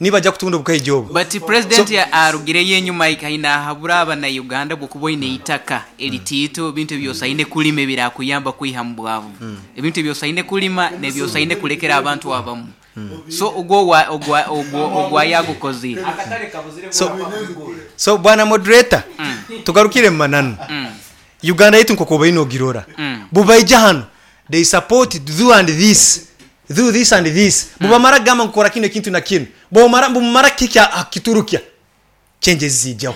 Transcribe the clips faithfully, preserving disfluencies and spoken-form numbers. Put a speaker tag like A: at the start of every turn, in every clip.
A: Nibajja kutunda obukaija obu.
B: But president arugireyo enyuma aine ahabura abanauganda bwokuba oine eitaka eritiito ebintu ebyosaine kulima ebirakuyamba kwiha mu bwavu, ebintu ebyosaine kulima nebyosaine kulekera abantu abamu. So ogwo ogwo ogwo yagukozire.
A: So, so bwana moderator, tugarukire mu mananu. Uganda yaitu nk'oku obaine ogirora, bubaija hanu they support do and this, do this and this. Bubamara kugamba ngu kora kinu ekintu na kinu, bwomara bumara kihika aha kukiturukya, changes ziijaho.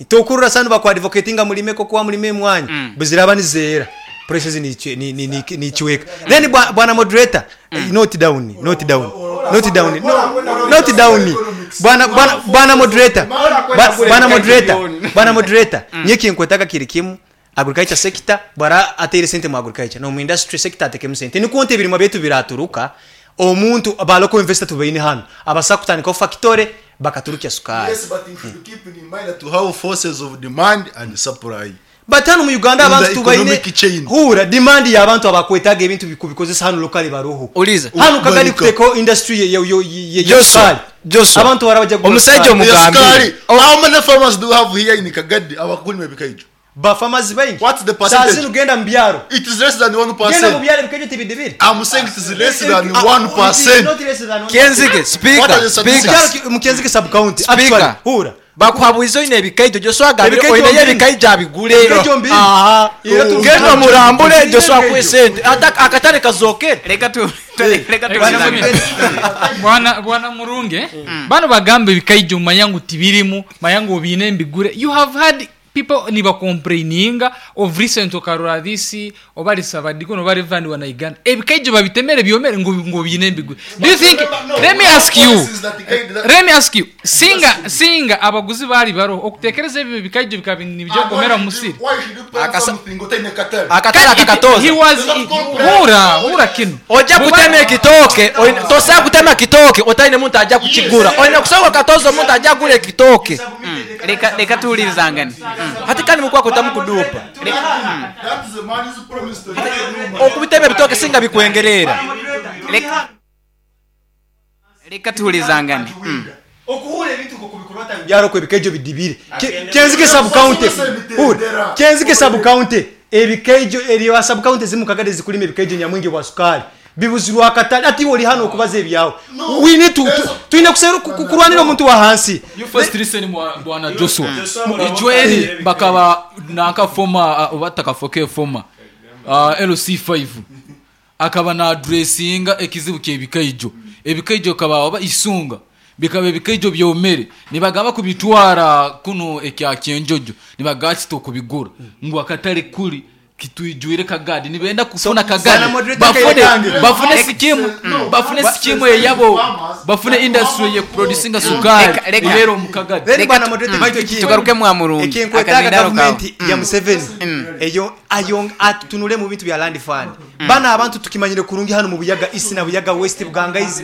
A: Tokurora sanu baku advocatinga mulime kokoa, mulime emwanyi, buziraba nizeera, prices nichweka. Then bwana moderator, note down, note down, note down, note down. Bwana bwana bwana moderator, bwana moderator, bwana moderator, nyowe nkwetaga kiri kimu: agriculture sector bwara ateire sente mu agriculture, no mu industry sector atekemu sente, nikwo nti ebirimwa byaitu biraturuka. Omuntu ba local investor tubaine hano abasa kutandikaho factory bakaturukya sukari.
C: Yes, but you should keep in mind that we have forces of demand and supply.
A: But hano mu Uganda
C: In the
A: abantu tubaine
C: economic chain.
A: Hura demand y'abantu abakwetaga ebintu bikubikozesa hano locally baruho.
D: Uliza.
A: Hano Kagali
C: Barika.
A: kutekaho industry ya ya ya ya
D: Joshua,
A: sukari.
D: Joshua.
A: Abantu barabajja kugura
D: Omusajja
A: sukari.
D: omugambire.
C: Sukari. How many farmers do we have here in Kagadi abakulima ebikaijo?
A: Ba farmers baingi.
C: What's the percentage?
A: Saa zino genda mu byaro.
C: It is less than one
A: Genda mu
C: percent.
A: byaro, ebikaijo tibidibire.
C: I'm saying it is less than
A: Ah,
C: one
A: it is
C: percent.
A: not less than one.
D: Kenzige,
C: What are
D: speaker,
C: the statistics?
D: speaker.
A: Mukyaro ki- Mukenzige sub county.
D: Speaker.
A: Actually, hura.
D: Bakuhabuiza oine ebikaijo, Joshua agambire
A: Ebikaijo
D: oineyo
A: mbiri.
D: ebikaijo abigure.
A: Ebikaijo mbiri.
D: Aha.
A: Era tu-
D: Genda omurambure,
A: Mbiri
D: Joshua
A: ebikaijo.
D: akuhe sente. Ata- akatare kazokere.
B: Reka tu reka
A: Bwana
B: tuwulizane.
A: moderator.
E: Bwana bwana Murunge, bano bagamba ebikaijo manya ngu tibirimu, manya ngu obiine mbigure. You have had people nibacomplaininga of recent, okarora this oba risabadiko noba Reverend wa Uganda, ebikaijo babitemere byomere ngu ngu biine mbigure. Do you think, let me ask you, let me ask you, singa singa abaguzi bali baroho okutekereza ebyo bikaijo bikaba nibyo mu musiri?
C: Why should you plant
D: Akasa-
C: something otaine katale?
D: Akatare
E: he
D: akakatoza.
E: was hura hura kino.
D: Ojja kutema ekitooke, oine- tosobola kutema kitooke otaine muntu ajja kukigura. Oine kusooka okatoza omuntu ajja kugura ekitooke.
B: Reka reka tuwulirizangane.
D: Hati kandi mukwako tamukudupa.
C: That is a man's promise to the
D: Okubitema ebitooke singa bikwengerera.
B: Reka reka tuwulizangane. Mm.
A: Okuhura ebintu nkokubikurwata mu byaro kwe ebikaijo bidibire. Ke- kenzige sub county, hura Kenzige sub county, ebikaijo eri sub county zimu Kagadi zikulima ebikaijo nyamwingi bwa sukari bibuzirwa akatale. Ati oli hano okubaza ebyawe, we need to tu- tulina kusera ku- ku- kurwanira omuntu wa hansi.
F: You first listen, mwa- bwana Joshua. Ijweri bakaba nanka former, uh, oba takafoke former uh, L C five akaba na addressinga ekizibu kyebikaijo. Ebikaijo kaba oba isunga bikaba ebikaijo byomere, nibagamba kubitwara kuno ekya Kyenjojo, nibagakita okubigura ngu akatale kuri kitwijwire Kagadi, nibenda kufuna
A: Bwana
F: Kagadi
A: moderator,
F: bafune
A: Kairekange.
F: bafune sikimu bafune sikimu eyabo, bafune industry ye producinga sukari
B: Reka- reka.
F: eyero mu Kagadi.
A: Then
B: Reka
A: bwana
B: tu-
A: moderator,
B: mm.
A: ekintu ekindi.
B: Tugaruke mwa Murungi.
A: Ekinkwetaaga
B: Akazindaro kawe.
A: gavumenti ya Museveni eyo ayo atunule mu bintu bya land fund. Bana abantu tukimanyire kurungi hano mu Buyaga East na Buyaga West, Bugangaizi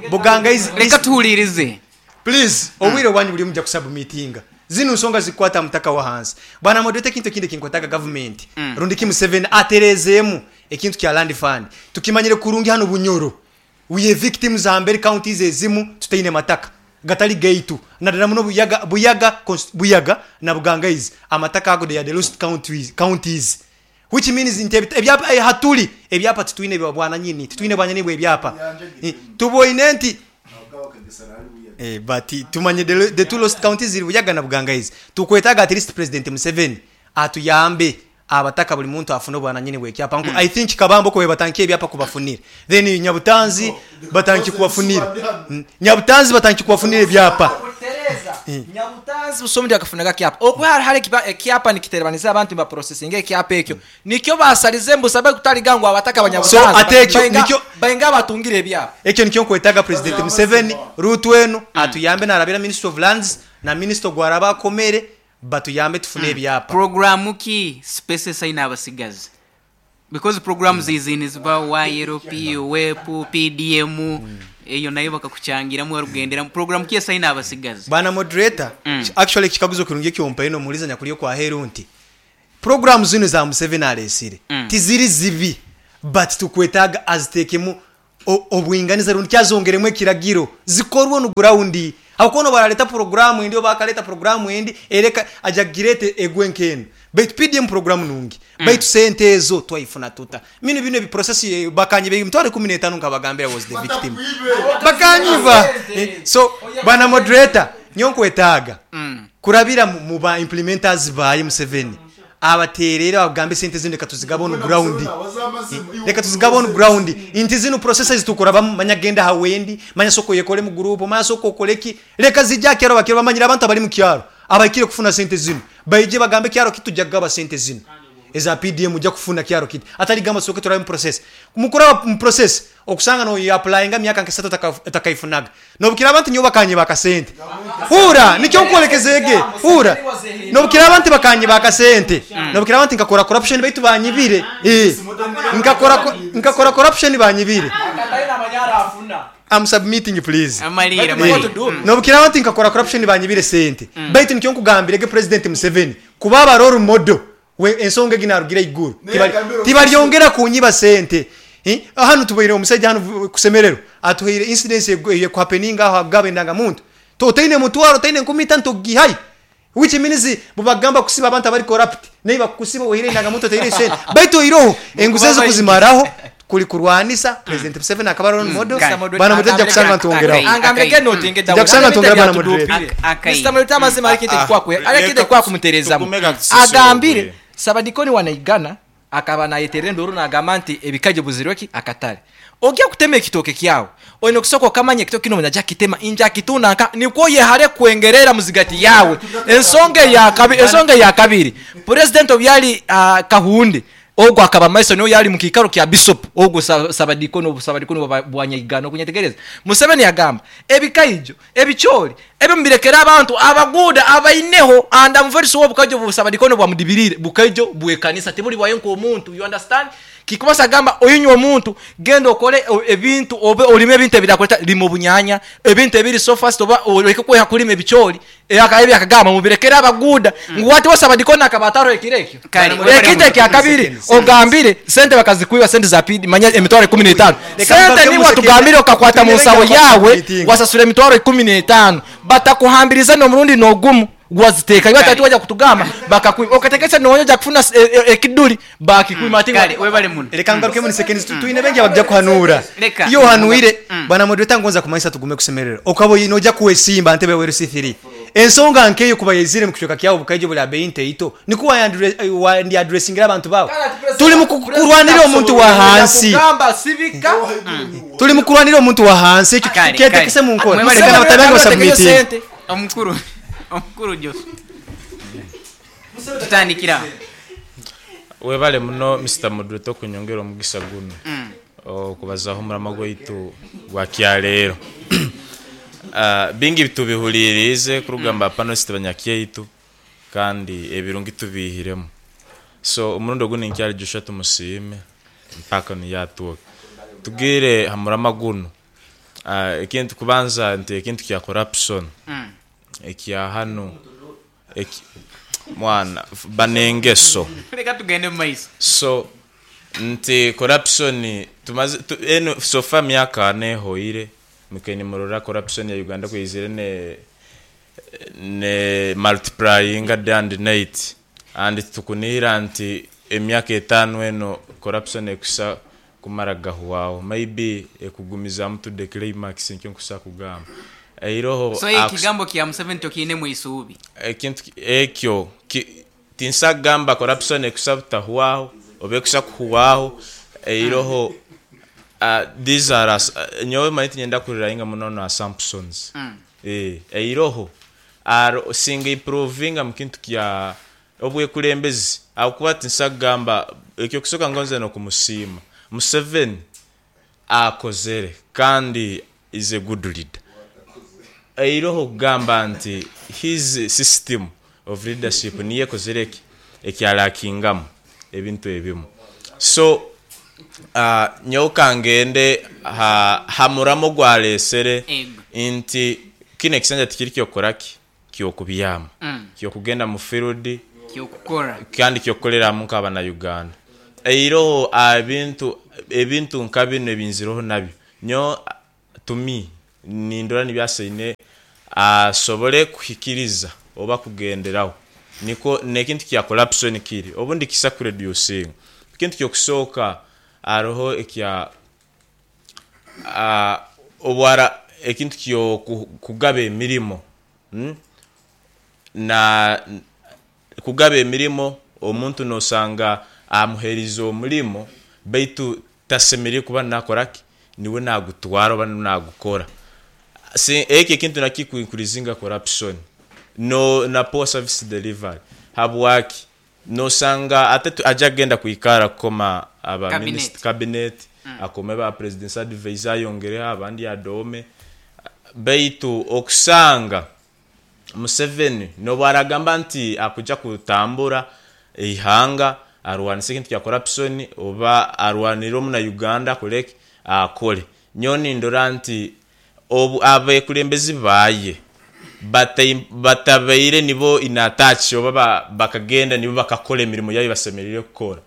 A: Bugangaizi
B: Reka
A: East.
B: tuwulirize.
A: Please, obwire bwanyu buri mujja kusubmitinga zino nsonga zikwata mutaka wa hansi. Bwana moderator, ekintu ekindi kinkwetaga gavumenti rundi ki Museveni aterezeemu ekintu kya land fund. Tukimanyire kurungi hano Bunyoro we are victims hambere counties ezimu tutaine mataka gatali gaitu, naddala muno Buyaga Buyaga Const- Buyaga na Bugangaizi. Amataka ago, they are the lost counties, counties which means nti ebi- ebyapa eh, hatuli ebyapa titwine bya bwananyini, titwine bwanyini bw'ebyapa. Eh, tuboine nti Eh, but tumanye the, the two lost counties ziri Buyaga na Bugangaizi. Tukwetaga at least President Museveni atuyambe abataka buli muntu afune obwananyini bwekyapa. mm. I think Kabambo kwe batanki ebyapa kubafunira, then Nyabutanzi batanki kubafunira. mm. Nyabutanzi batanki kubafunira ebyapa.
D: Nyabutanzi busomundi akafunaga kyapa okuba hari hari ekipa- ekyapa nikiterebaniza abantu nibaprocessinga ekyapa ekyo nikyo basalize mbusabe kutaliga ngu abataka abanyabutanzi
A: So, ate ekyo
D: bainga-
A: nikyo-
D: bainga batungire ebyapa.
A: Ekyo nikyo nkwetaga President Museveni rutu enu atuyambe narabira Minister of Lands na minister gwaraba akomere batuyambe tufune ebyapa.
B: Programu ki spaces aina abasigazi? Because programs izi niziba Y L P, W E P, P D M, eyo nayo bakakuchangiramu warugenderamu. Program ki esaina abasigazi?
A: Bwana moderator,
B: Mm.
A: actually ekikaguzo kirungi ekyompaine omuliza nyakuli okwaheru nti program zino za Museveni alesire
B: Mm.
A: tiziri zibi, but tukwetaaga azitekemu o- obwinganiza rundi kyazongeremu ekiragiro zikorwe onu ground. Abakono baraleta programu endi, oba bakaleta programu endi ereka ajagirete egwe nkeno, baitu P D M programu nungi mm. Baitu sente ezo twaifuna tuta mino bino ebiprocess eh, bakanyiba emitwaro ikumi n'etaano nkabagambira was the victim bakanyiba. Eh, so bwana moderator, nyo nkwetaaga kurabira mu- mu ba implementers baye Museveni abaterere bagambe sente zino reka tuzigaba on ground, reka tuzigaba on ground, inti zino processes tukora manya genda hawendi, manya soko yekole mu group, manya soko okoleki, reka zijja kyaro bakiro bamanyira abantu abali mu kyaro abakire kufuna sente zino baije bagambe kyaro kitujja kugaba sente zino eza P D M, ujja kufuna kyaro kiti atali gamba soke turabe mu process, mukura mu process okusanga no applyinga myaka nkesatu takaifunaga nobukira abantu nyo bakanye bakasente hura nicyo nkulekezege hura nobukira abantu bakanye bakasente nobukira abantu nkakora corruption baitu banyibire, eh nkakora nkakora corruption banyibire. I'm submitting, please.
B: Amalira.
A: Eh,
B: Amalira.
A: Nobukira abantu nkakora corruption banyibire sente, baitu nicyo nkugambire ge President Museveni kuba aba role model we ensonga eginarugira iguru Tibari- tibaryongera kunyiba sente. Eh, hano tubaire omusajja hano vu- kusemerero atuhaire incidence yekuhappeninga aho agaba endangamuntu totaine mutwaro taine nkumi itano togihayi, which means bubagamba kusiba abantu abari corrupt naye bakusiba ohire endangamuntu otaire sente, baitu oiroho enguzi ezo kuzimaraho kuli kurwanisa President Museveni akaba role model.
B: Kale.
A: Bana mutajja kusanga ntongeraho.
D: Angambire ke notinge.
A: Nja kusanga ntongera bana moderator.
B: Akai.
D: Mister Moderator, amazima ariko
G: Ah,
D: kwakwe
G: ah,
D: ariko
G: leka
D: kwa kumuterezamu.
G: tugume katusisi
D: Agambire
G: obuye.
D: Sabadikoni wanaigana akaba nayeterera enduru nagamba nti ebikajo buzirweki akatale ogya kutema ekitoke kyawe oyina okusooka okamanya ekitoke kino nja kitema nja kitunda nikwo yehare kwengerera muzigati yawe. Ensonga eyakabi ensonga eyakabiri, president obyali uh, Kahunde ogwo akaba maiso niyo yali mukikaro kya bishop ogwo sa- sabadikono sabadikono bwa- bwanyaigana okunyetegereza. Museveni yagamba ebikaijo ebichori ebyo mubirekera abantu abaguda abaineho and I'm very sure obukajo busabadikono bwamudibirire bukaijo bwekanisa tibuli bwayo nk'omuntu, you understand? Kikubasa agamba oyinywa omuntu genda okole o- ebintu obe olime ebintu ebirakuleta lima obunyanya ebintu ebiri so fast oba oleke kweha kulima ebichori ebi akagamba mubirekere abaguda ngu wati wasabadikona akaba ataroekire ekyo.
B: Kale,
D: Ekintu ekyakabiri ogambire sente bakazikwiba sente za P D manya emitwaro ikumi n'etaano.
A: Reka
D: Sente
A: mbaze
D: niwe
A: musekere.
D: tugambire okakwata mu
A: Twine
D: nsawo
A: bengi
D: yawe
A: meeting.
D: wasasura emitwaro ikumi n'etaano batakuhambiriza n'omurundi n'ogumu waziteeka iwe atati wajja kutugamba bakakwiba okategesa nonya ojja kufuna s- e- e- ekiduli bakikwima ati
B: Kale, webale muno.
A: Reka ngaruke muri seconds, tuine bengi abajja kuhanura.
B: Reka.
A: Iyo ohanuire bwana moderator ngonza kumanyisa tugume kusemerera okaba nojja kuwesimba ntebe weru C three ensonga nkeyo kuba yezire mu kichweka kyawo bukaijo buli abeyi nteito nikuwa wandi addressingira abantu bawe. Tuli mu kurwanira omuntu wa hansi.
D: Kugamba sibika.
A: Tuli mu kurwanira omuntu wa hansi ekyo
B: Kale,
A: kyetekese
B: kale.
A: mu nkola.
B: Mwebale
A: Reka
B: muno.
A: n'abatabangi basubmitting.
B: Omukuru, omukuru Josu, tutandikira.
G: Webale muno Mister Moderator okunyongera omugisa guno okubazaho omurama gwaitu gwa kyaleero. Ah, bingi tubihulirize kurugamba panelist banyakyaitu kandi ebirungi tubihiremu, so omurundi ogu ninkyali Joshua tumusiime mpaka niyatuuka tugire hamurama guno. Ah, ekintu kubanza nti ekintu kya corruption ekya hano eki- mwana f- banengeso.
B: Reka tugende mu maiso.
G: So nti corruption tumaze tu, eno so far myaka ane ehoire mukeni murora corruption ya Uganda kwizire ne ne multiplying day and night and tukunira nti emyaka etaano eno corruption ekusa kumara gahwaho, maybe ekugumizamu to the climax nkyo nkusa kugamba eiroho.
B: So ekigambo kya Museveni tokiinemu isuubi?
G: Ekintu ki- ekyo ki- tinsagamba corruption ekusa butahwaho oba ekusa kuhwaho eiroho. uh, these are as, uh, nyowe manyi tinyenda kurirainga muno na assumptions mm. eh eiroho aro singa improvinga mu kintu kya obwekulembezi akuba tinsagamba ekyo kusoka ngonze nokumusiima Museveni akozere kandi is a good leader eiroho kugamba nti his system of leadership niyo ekozere eki ekyalakingamu ebintu ebimu. So uh, nyowe kangende ha, hamuramo gwalesere
B: Ego.
G: nti kino ekisanja tikiri kyokoraki kyokubyama
B: Mm.
G: kyokugenda mu field
B: Kyokukora.
G: kandi kyokukoleramu nk'abanauganda eiroho ebintu ebintu nka bino ebinziroho nabyo. Nyo to me nindora nibyasaine asobole kuhikiriza oba kugenderaho niko nekintu kya corruption kiri obundi kisa kureducinga. Ekintu kyokusooka hariho ekya ah, obwara ekintu kyo ku- kugaba emirimo, mm? Na kugaba emirimo omuntu nosanga amuherize omurimo baitu tasemereire kuba nakoraki niwe nagutwara oba niwe nagukora. Si eki ekintu nakikuincreasinga corruption no na poor service delivery. Habwaki nosanga ate tu- aja kugenda kwikara kukoma aba
B: Cabinet.
G: minist- cabinet akome ba president's advisor ayongereho abandi adome, baitu okusanga Museveni nobu aragamba nti akuja kutambura eihanga arwanise ekintu kya corruption oba arwanire omuna Uganda akoreki akore, nyowe nindora nti obu abekulembezi baye batai- batabaire nibo inatachi oba ba- bakagenda nibo bakakora emirimo yayo basemerire kukora,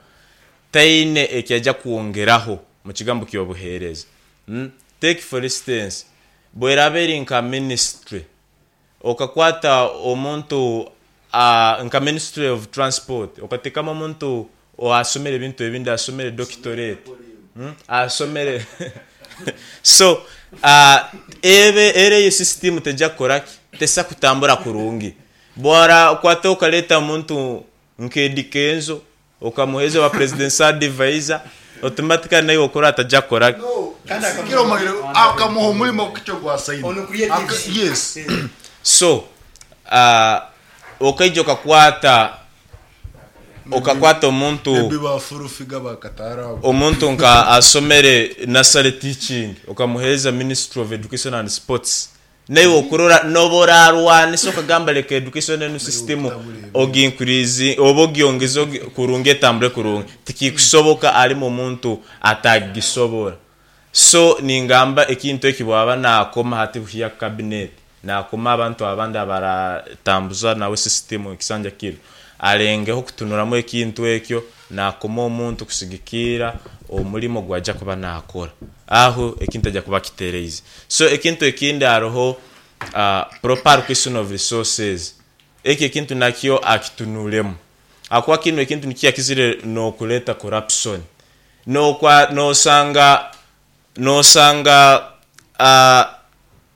G: taine ekyaja kwongeraho mu kigambo ky'obuheereza. mm? Take for instance bweraba eri nka ministry okakwata omuntu uh, nka ministry of transport okateekamu omuntu asomere ebintu ebindi, asomere doctorate, mm? Asomere so uh, ebe era eyo system tejja kukoraki tesa kutambura kurungi. Bwara okwata okaleta omuntu nka Eddy Kenzo okamuheza wa president's advisor, automatically naye okora atajja kukoraki.
C: Kira omanyire akamuha omurimo kukyo gwasaine.
A: Ono creative.
C: Aka- yes.
G: So uh, okaija okakwata okakwata omuntu
C: Ebi bafurufiga bakatara abo.
G: Omuntu nka asomere nursery teaching okamuheza ministry of education and sports, naye okurora noborarwanisa okagamba leka education enu system ogincrease oba ogyongeze ogi- kurungi etambure kurungi, tikikusoboka alimu omuntu atagisobora. So ningamba ekintu eki bwaba nakoma hati buhiya cabinet nakoma abantu abandi abaratambuza nawe system ekisanja kiro alengeho kutunuramu ekintu ekyo nakoma omuntu kusigikira omulimo gwajja kuba nakora aho ekintu ajja kuba kitereize. So ekintu ekindi hariho uh, proper allocation of resources. Eki ekintu nakyo akitunuremu akuba kino ekintu nikyo yakizire nokuleta corruption. Nokwa nosanga nosanga uh,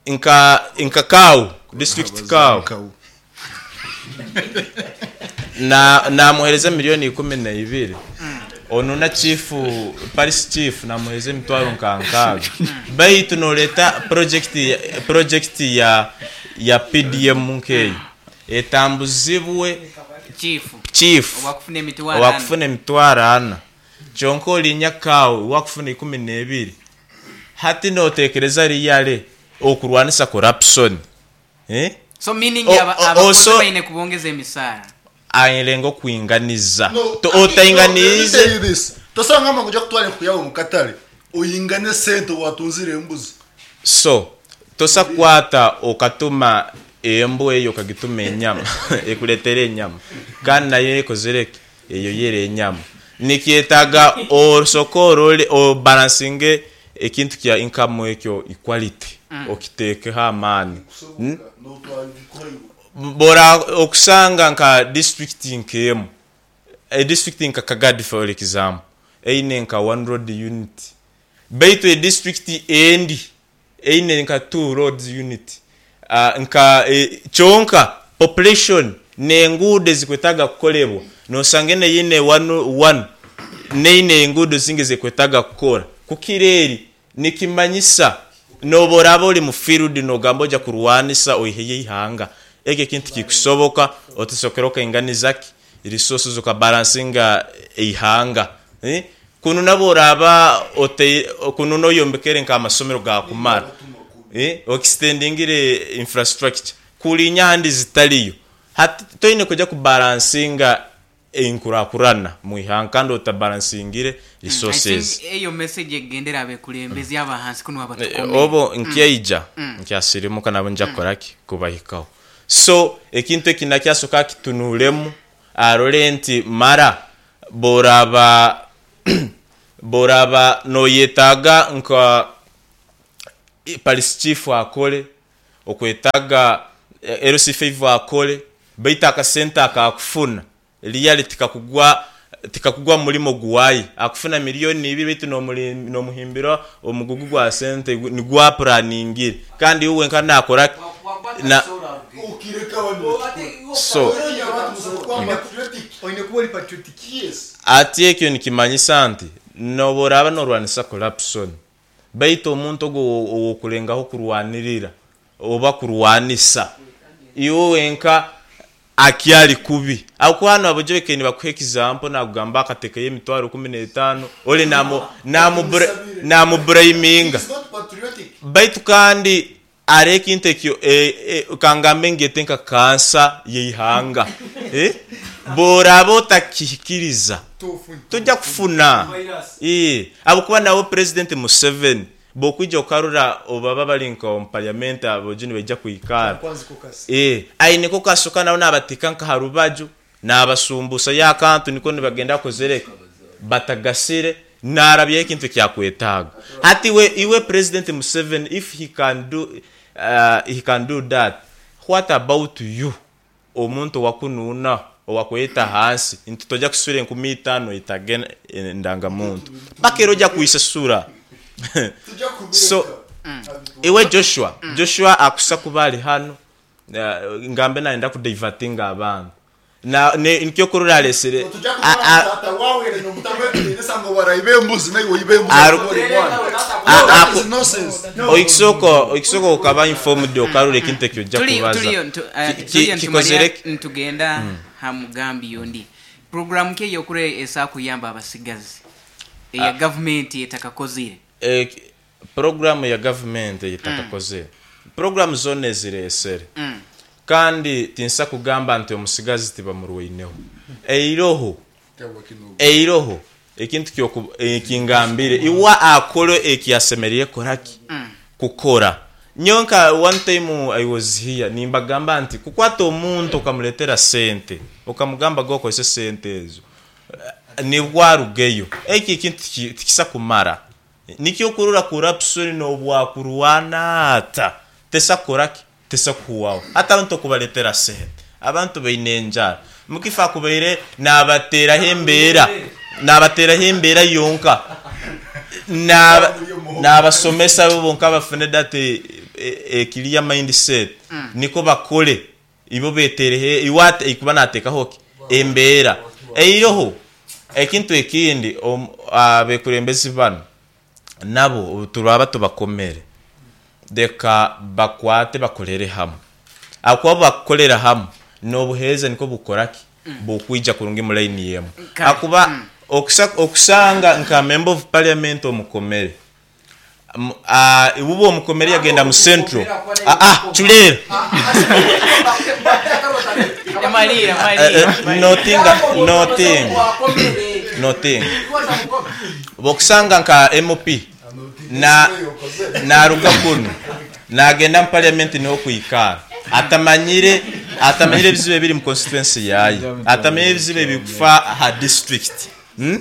G: nka nka Kau district Kau
C: Kau.
G: Na namuhereza miliyoni ikumi na ibiri, ono na chief Paris chief namuhereza emitwaro nka nkaaga, baitu noleta project project ya ya P D M nkeyo etambuzibwe
B: chief
G: chief
B: owakufuna emitwaro ana.
G: Owakufuna emitwaro ana, kyonka olinya Kau wakufuna ikumi n'ebiri. Hati notekereza riyale okurwanisa corruption, eh?
B: So meaning
G: O-
B: aba-
G: o-
B: abakozi
G: oso-
B: baine kubongeza emisaara.
G: Ayirenga okwinganiza.
C: No,
G: To-
C: no, let me tell you
G: otainganize
C: this. Tosanga ngo ujya kutwara enku mu katare oyingane sente watunzire embuzi.
G: So tosakwata okatuma embwa eyo okagituma enyama ekuletera enyama kandi nayo ekozereki eyo yera enyama. Nikyetaaga osoke orole obalansinge ekintu kya income ekyo equality okiteekeho amaani. Hmm? Bora okusanga nka district nkemu e district nka Kagadi for example eine nka one road unit, baitu e district endi eine nka two roads unit, uh, nka e, kyonka population nenguudo ezikwetaaga kukolebwa nosanga ene yine one, one neine enguudo zingi zikwetaaga kukora kukira eri. Nikimanyisa noba oraba ori mu field nogamba ojja kurwanisa oiheyo eihanga, ekyo ekintu kikusoboka otusokera okainganiza ki resources okabalansinga eihanga, eh? Kunu nabo oraba ote kunu noyombekere nk'amasomero gakumara, eh? Okistendingire infrastructure kulinya handi zitaliyo. Hati toine kujya kubalansinga enkurakurana mu ihanga kandi otabalansingire
B: I
G: resources.
B: think eyo message egendera abekulembezi abahansi kuno
G: Eh,
B: abatukomere.
G: Obo nkyaija nkyasirimuka nabo nja kukoraki kubahikaho. So ekintu eki nakyasoka akitunuremu arole nti mara boraba boraba noyetaaga nka i- police chief akole, okwetaga eh, L C five akole, baitu akasente akakufuna really tikakugwa tikakugwa mu mulimo guwayi. Akufuna miliyoni ibiri, baitu n'omuli- n'omuhimbira omugugu gwa sente gu- nigwapuraningire, kandi uwe nka nakora na so
A: Oine kuba ori patriotic.
G: Ati ekyo nikimanyisa nti noba oraba norwanisa corruption, baitu omuntu ogwo owokulengaho kurwanirira oba kurwanisa, iwe wenka akyali kubi. Akuba hano abojo beke nibakuha example, nagugamba akatekeyo emitwaro kumi n'etaano, oli namu namu namubraminga, baitu kandi ari ekintu ekyo e, e, kangambe ngete nka kansa yeihanga, eh? Boraba otakihikiriza tojja kufuna. Eh, abukuba nawe President Museveni bokwija okarura obaba bali nka omu parliament, abojo nibaija kwikara. Eh, aineko kasuka nabo nabateeka nka harubaju, nabasumbusa yakantu, niko nibagenda kozereka batagasire narabya ekintu kyakwetaaga. Hati we iwe President Museveni, if he can do uh, he can do that, what about you, omuntu owakunuuna, owakweta hansi nti tojja kusura enkumi itaano itage endangamuntu paka era ojja kuisasura? So iwe Joshua, Joshua akusa kuba ali hano, uh, ngambe nayenda kudivertinga abantu na ne- nikyo kurura alesere a- a- Aru- a- aku- oikisooka oikisooka okaba informed, okarura ekintu ekyo ojja
B: Tuli-
G: kubaza.
B: Tuliyo ntu- eh,
G: Ki- ki-
B: tuliyo
G: kikozere
B: ntumalira ntugenda ha mugambi yondi. Programu ki eyokure esakuyamba abasigazi eya gavumenti etakakozire?
G: Eh, programu ya gavumenti eyetakakozere, programu zonna eziresere,
B: Mm.
G: kandi tinsa kugamba nti omusigazi tibamurwaineho. Eiroho eiroho ekintu kyoku- ekingambire iwa akole ekiyasemerire koraki kukora. Nyonka one time I was here nimbagamba nti kukwata omuntu okamuletera sente, okamugamba gokozesa sente ezo, eh, nibwarugeyo eki ekintu tiki- tikisa kumara. Nikyo kurura corruption nobwakurwana ata tesakoraki, tesakuwaho. Hata abantu okubaletera sente, abantu baine enjara, mukifa akubaire nabateraho embeera, nabateraho embeera yonka. Naba- nabasomesa bo bonka bafune that ekiriya mindset, niko bakole ibo beterehe iwate ikuba natekaho ki embeera eiroho. Ekintu ekindi, om- abekurembezi bano nabo turaba tubakomere, reka bakwate bakorere hamwe. Akuba bakorera hamwe n'obuheereza niko bukoraki bukwija kurungi mu line yemu.
B: Kale.
G: Akuba okusa- okusanga nka member of parliament omukomere, M- ah, ibuba omukomere yagenda mu central, ah, ah, chulera.
B: Malira,
G: Eh,
B: malira.
G: eh, notinga notinga notinga bokusanga nka M P na naruga kuno nagenda mu parliament, niho kwikara, atamanyire atamanyire ebizibu ebiri mu constituency yaye, atamanyire ebizibu ebikufa ha district, hmm?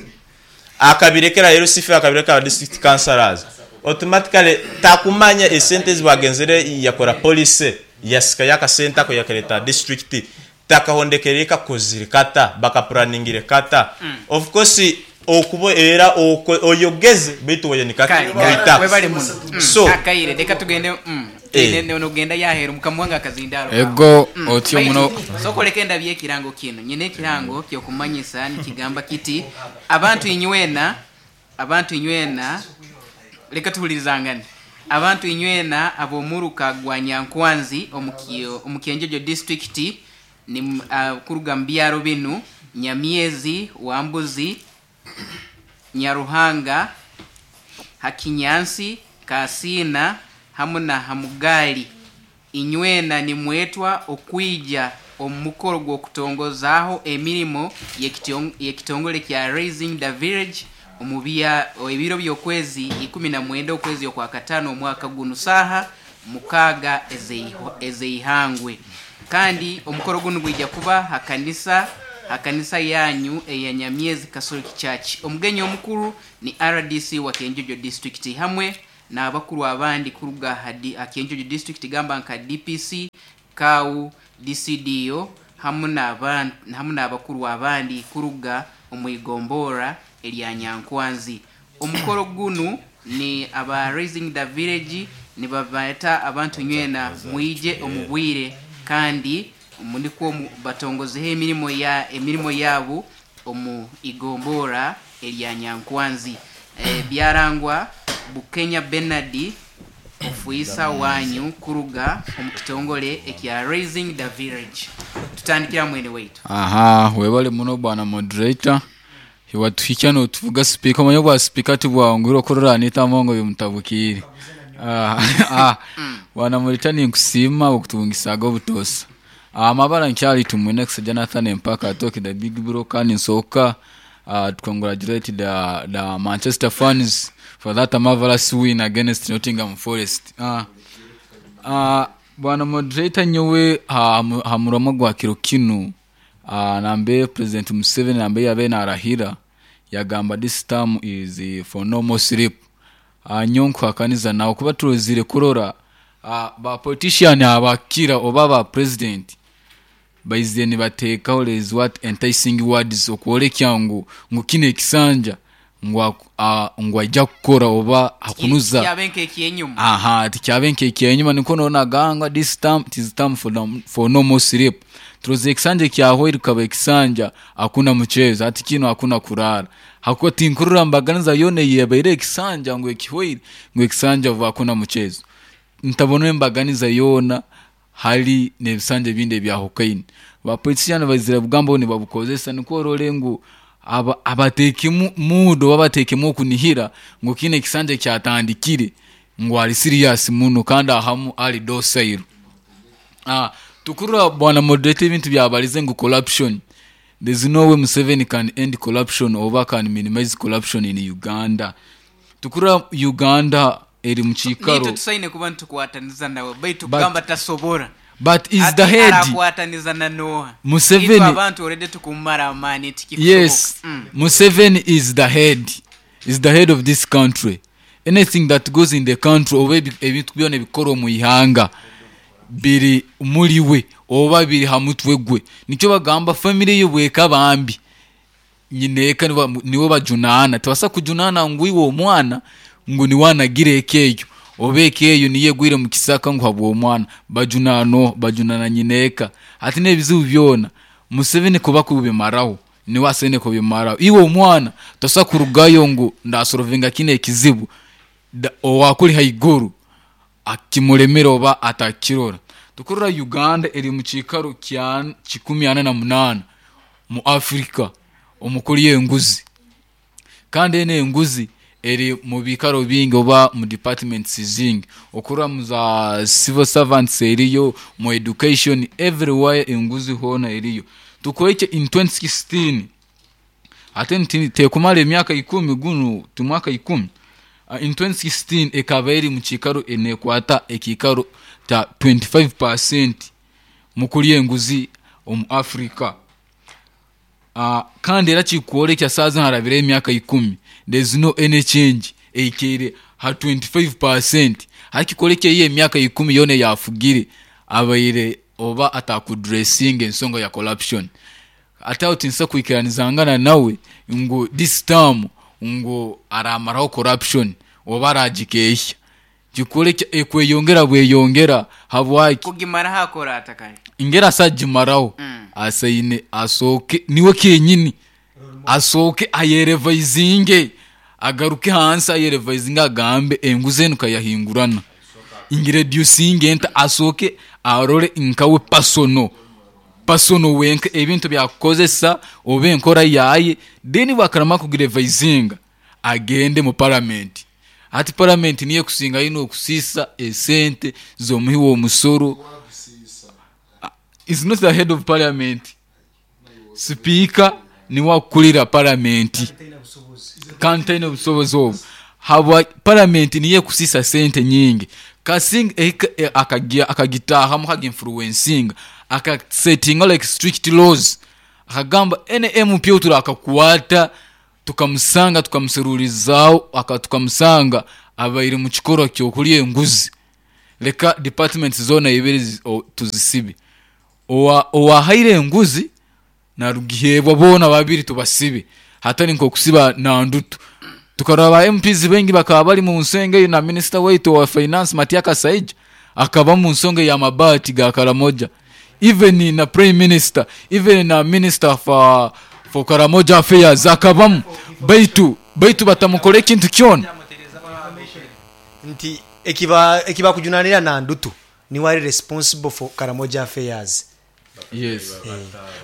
G: Akabirekera L C five, akabirekera district councillors, automatically takumanya esente zibagenzere yakora policy, yasika yakasente ako yakareta district, takahondekere kakozire kata bakaplaningire kata. Of course okuba era oko- oyogeze baitu wayanikaki
B: Kale,
G: mwita.
B: webale muno. Mm,
G: So
B: akaire reka tugende mm,
G: Eh.
B: ne- nogenda yahera mukamuwanga akazindaro.
F: Ego otyo muno.
B: Sokoleka endabye ekirango kino, nyina ekirango kyokumanyisa nikigamba kiti: abantu inywena, abantu inywena, leka tuhulirizangane. Abantu inywena ab'omuruka gwa Nyankwanzi omu- omu Kyenjojo District, ni uh, kuruga mu byaro binu: Nyamyezi, Wambuzi, Nyaruhanga, Hakinyansi, Kasina hamu na Hamugali, inywena nimwetwa okwija omu mukoro gw'okutongozaaho emirimo y'ekitong- y'ekitongole kya Raising the Village omu bya ebiro by'okwezi ikumi na mwenda okwezi okwa katano omwaka guno, saaha mukaaga ezeiho- ezeihangwe. Kandi omukoro guno gwija kuba hakanisa hakanisa yanyu eya Nyamyezi Catholic Church. Omugenyi omukuru ni R D C wa Kenjojo District hamwe N'abakuru abandi kuruga aha Kyenjojo district, gamba nka D P C, Kau, D C D O hamu n'abantu hamu n'abakuru abandi kuruga omu igombora erya Nyankwanzi. Omukoro gunu ni aba Raising the Village nibabaeta abantu nywena mwije omubwire kandi munikwo batongozeho emirimo ya emirimo yabo omu igombora erya Nyankwanzi. E, byarangwa Bukenya Bernard ofuisa wanyu kuruga omu kitongole ekya Raising the Village. Tutandikira mwene waitu.
F: Aha, webale muno bwana moderator. Hiwatuhikia no tuvuga speaker manyo bwa speaker tibwangura okorora nitamongo bimutabukire. Ah, ah. Bwana moderator ni nkusima okutubungisaga obutosa. Amabara nkyali tumwene Jonathan Mpaka talk the big bro kandi nsoka. Uh, to congratulate the, the Manchester fans for that marvelous win against Nottingham Forest. Uh, uh, bwana moderator nyowe hamuramo gwa kiro kinu uh, nambe President Museveni nambe yabe narahira yagamba this term is for no more sleep. Uh, nyonko akaniza nawo kuba turozire kurora uh, ba politician abakira oba ba president baizeni batekaho is what enticing words okwolekya ngu ngu kine ekisanja ngu ngu ajja kukora oba hakunuza
B: kyabenke ekyenyuma.
F: Aha, tikyabenke ekyenyuma niko nona ganga this time it is time for no, for no more sleep. Turoze ekisanja kyahoire kaba ekisanja hakuna mchezo ati kino hakuna kurara. Hakuwa tinkurura mbaganiza yone yebaire ekisanja ngu ekihoire ngu ekisanja hakuna mchezo. Ntabona embaganiza yona hali nebisanje binde bya hokaini. Ba politician bazira bugambo ni babukozesa niko role ngu aba abateke mudo babateke mu kunihira ngo kine kisanje kyatandikire ngo ali serious muno kandi ahamu ali docile. Ah, tukurura bwana moderator ibintu byabalize ngo corruption. There's no way Museveni can end corruption or can minimize corruption in Uganda. Tukurura Uganda eri muchikaro.
B: Nito tusaine kuba ntukwataniza nawe baitu kugamba tasobora.
F: But is the head
B: arakwataniza na Noah.
F: Museveni
B: abantu already tukumara amani tikifuko.
F: Yes. Mm. Museveni is the head. Is the head of this country. Anything that goes in the country oba ebintu byona bikoro mu ihanga biri muri we oba biri hamutwe gwe. Nicyo bagamba family yo bweka bambi. Nyineka niwe bajunana. Tewasa kujunana ngwiwo omwana ngo ni wanagire ekeyo obeke eyo niye gwire mu kisaka ngo habwo omwana bajunano bajunana nyineka ati nebizibu byona Museveni kuba kubimaraho ni wasene kubimaraho iwe omwana tosa kurugayo ngo ndasorovinga kine ekizibu owakuri haiguru akimulemera oba atakirora. Tukurura Uganda eri mu kikaro kya kikumi ana na munana mu Afrika omukuri yenguzi kandi ene enguzi eri mu bikaro bingi oba mu departments zingi okura mu za civil servants eriyo mu education everywhere enguzi hona eriyo. Tukoike in twenty sixteen ate tekumala emyaka ikumi gunu tumwaka ikumi uh, in twenty sixteen ekaba eri mu kikaro enekwata ekikaro ta twenty-five percent mukuri enguzi omu Africa. Uh, kandi era kikwolekya saaza harabire emyaka ikumi there's no any change eikere ha twenty-five percent hakikolekya iye emyaka ikumi yone yafugire abaire oba atakudressinga ensonga ya corruption. Ate aho tinsa kwikiranizangana nawe ngo this term ngo aramaraho corruption oba aragikehya kikolekya ekweyongera bweyongera habwaki
B: kugimara hakora atakari
F: ingera asagimaraho mm. Asaine asoke niwe kenyini asoke ayerevisinge agaruke hansi ayerevisinge agambe enguze nukayahingurana ingireducing enta asoke arore nkawe pasono pasono wenka ebintu byakozesa obe enkora yaye then bakarama kugirevisinga agende mu parliament. Ati parliament niye kusinga ino kusisa esente zomuhiwo omusoro. Is not the head of parliament. Speaker ni wakulira parliament. Kantaine obusobozi obwo. Habwa parliament niye kusisa sente nyingi. Kasing akagia akagitaha mu hagi influencing aka setting like strict laws. Akagamba N M P turakakwata tukamusanga tukamuserurizao akatukamusanga Abaire mu kikorwa ky'okulya enguzi, leka departments zoona ibiri zi- o- tuzisibe. Owa- owahaire enguzi narugiheebwa, boona babiri tubasibe, hatari nk'okusiba Nandutu. Tukarora ba M Ps bengi bakaba bari mu nsonga eyo, na minister waitu wa finance Matia Kasaija akaba mu nsonga ya mabaati ga Karamoja, even na prime minister, even na minister for, for Karamoja affairs akabamu, baitu baitu batamukora ekintu kyona.
A: Nti ekiba ekibakujunanira Nandutu niwe ari responsible for Karamoja affairs.
F: Yes,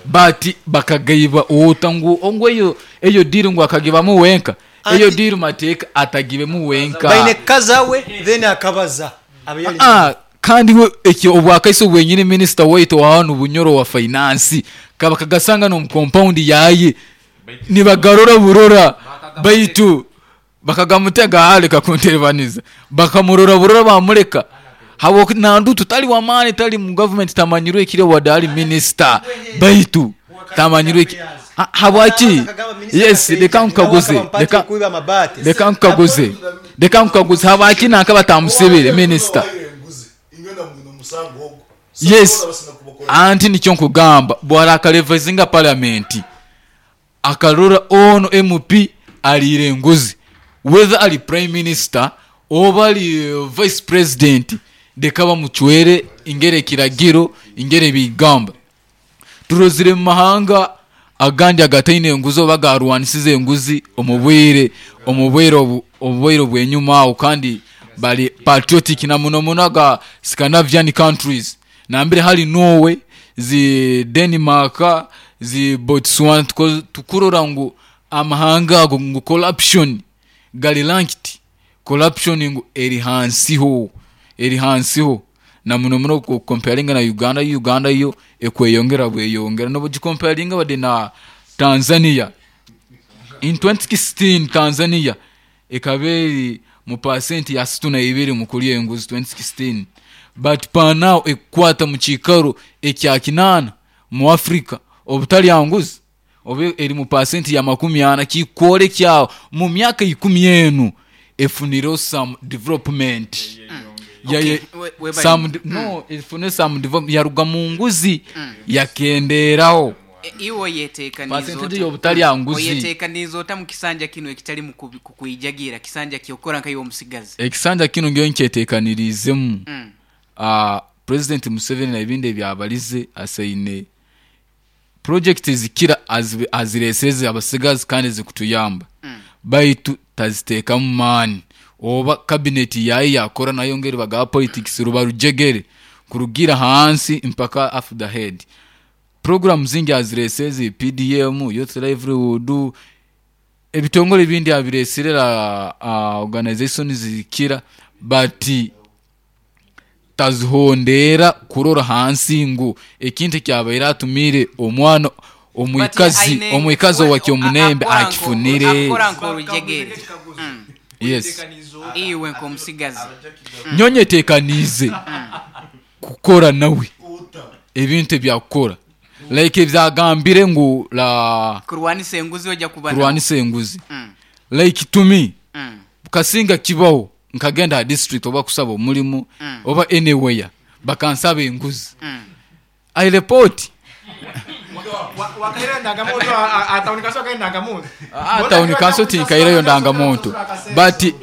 F: but bakagaiba ota ngu ongu eyo eyo deal ngu akagibamu wenka eyo
A: Anti-
F: deal mateeka atagibemu wenka.
A: Baine kazawe, then akabaza abe yali.
F: Ah, kandi we ekyo obwakaiso bwenyine, minister waitu wa hano Bunyoro wa finance kaba kagasanga no compound yaye, nibagarora burora, baitu bakagamutega aleka kunterebaniza, bakamurora burora, bamureka. Habo Nandutu tali wamani, tali mu government, tamanyirwe ekire wadde ali minister, baitu tamanyirwe eki- Ah, habwaki? Yes, leka nkaguze, leka
A: kuiba amabati.
F: Leka nkaguze, leka nkaguze, habwaki nanka batamusibire minister? Yes, anti nikyo nkugamba, bwara akalevezinga parliament akarora ono M P aliire enguzi, whether ali prime minister oba ali eh, vice president, leka bamucwere ingere ekiragiro ingere bigamba. Turozire mu mahanga agandi agataine enguzi oba garwanisize enguzi omu bwire omu bwire obu- obubwaire bwenyuma awo, kandi bali patriotic na muno muno aga Scandinavian countries, nambere hali Norway, zi Denmark, zi Botswana. tuko- tukurora ngu amahanga ago ngu corruption gali ranked, corruption ngu eri hansiho, eri hansiho na muno muno ku- comparinga na Uganda. Uganda yo ekweyongera bweyongera, nobugicomparinga wadde na Tanzania. In twenty sixteen Tanzania ekaba eri mu pasenti ya situ na ibiri mu kulya enguzi twenty sixteen, but pa now ekukwata mu kiikaro ekya kinaana mu Africa obutalya nguzi, oba eri mu pasenti ya makumi ana. Kikore kyawo mu myaka ikumi enu efunireho some development. Ya-
B: Okay,
F: ya-
B: we- webale.
F: some de- no, efune some development, yaruga mu nguzi, yakenderaho.
B: E, iwe oyeteekaniza
F: Percentage
B: ota?
F: y'obutalya nguzi.
B: Oyeteekaniza ota mu kisanja kino ekitali mu kubi- kukwijagira kisanja kyokora nkayiwe omusigazi?
F: Ekisanja kino ngeyo nkyeteekanirizemu.
B: Mm.
F: uh, president Museveni ebindi ebyabalize, asaine project zikira azi- azireseze abasigazi kandi zikutuyamba, mm. baitu taziteekamu maani, oba cabinet yaye yakora nayo ngeri baga politics ruba rujegere kurugira hansi mpaka after the head. Program zingi azireseze, P D M, youth livelihood, ebitongole ebindi abiresire, uh, organization zikira, but tazihondera kurora hansi ngu ekintu kyabaire atumire omwana omwikazi
B: But aine-
F: omwikazi
B: we-
F: owakyomunembe
B: akora nko-
F: akifunire.
B: Akora nk'olujegere. Mm.
F: Yes.
B: Iwe nk'omusigazi.
F: Nyonyetekaniize kukora nawe ebintu ebyakukora, like ebyagambire ngu la
B: Kurwanisa enguzi ojja kuba nawe.
F: Kurwanisa enguzi.
B: Mm.
F: Like to me,
B: Mm.
F: kasinga kibaho nkagenda ha district oba kusaba omulimu oba anywhere, bakansaba enguzi,
B: Mm.
F: I report.
D: Wakaire ndangamuntu, atawuni kanso wakaire ndangamuntu.
F: Ah, town council tinkaireyo ndangamuntu, but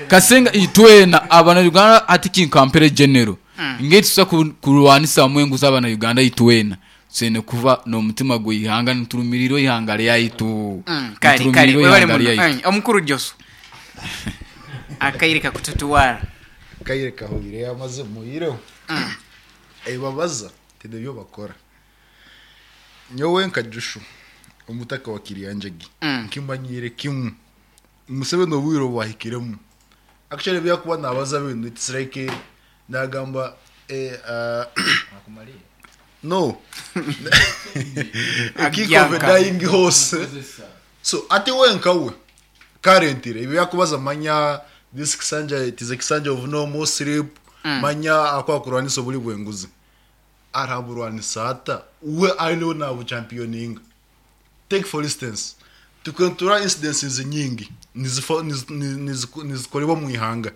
F: kasinga itwena abana Uganda ati kinkampere general ngeri tusa ku- kurwanisa hamwe enguzi, abana Uganda itwena tusene kuba n'omutima gw'ihanga niturumirirwa ihanga lyaitu.
B: Mm, kale kale
F: Niturumirirwa
B: webale
F: ihanga
B: muno.
F: lyaitu.
B: Mm, omukuru Josu, akaire kakututuwara.
C: Kaire kahwire amaze muyireho ebabaza tine byo bakora. Nyowe nka Jushu omutaka wa Kiryanjagi, nkimanyire kimwe, Museveni obwire bwahikiremu. Actually byakuba nabaza bintu, it's like nagamba eh, uh, no a kick of a
B: Agyanka.
C: dying horse. So ati wenka we currently ibyo yakubaza, manya this kisanja, it is a kisanja of no more sleep. Manya akwakurwanisa obuli bwenguzi, araburwanisa ata we ariwe nabo championinga? Take for instance Tukentura incidences nyingi nizifo- niz- niz- niz- nizikolebwa mu ihanga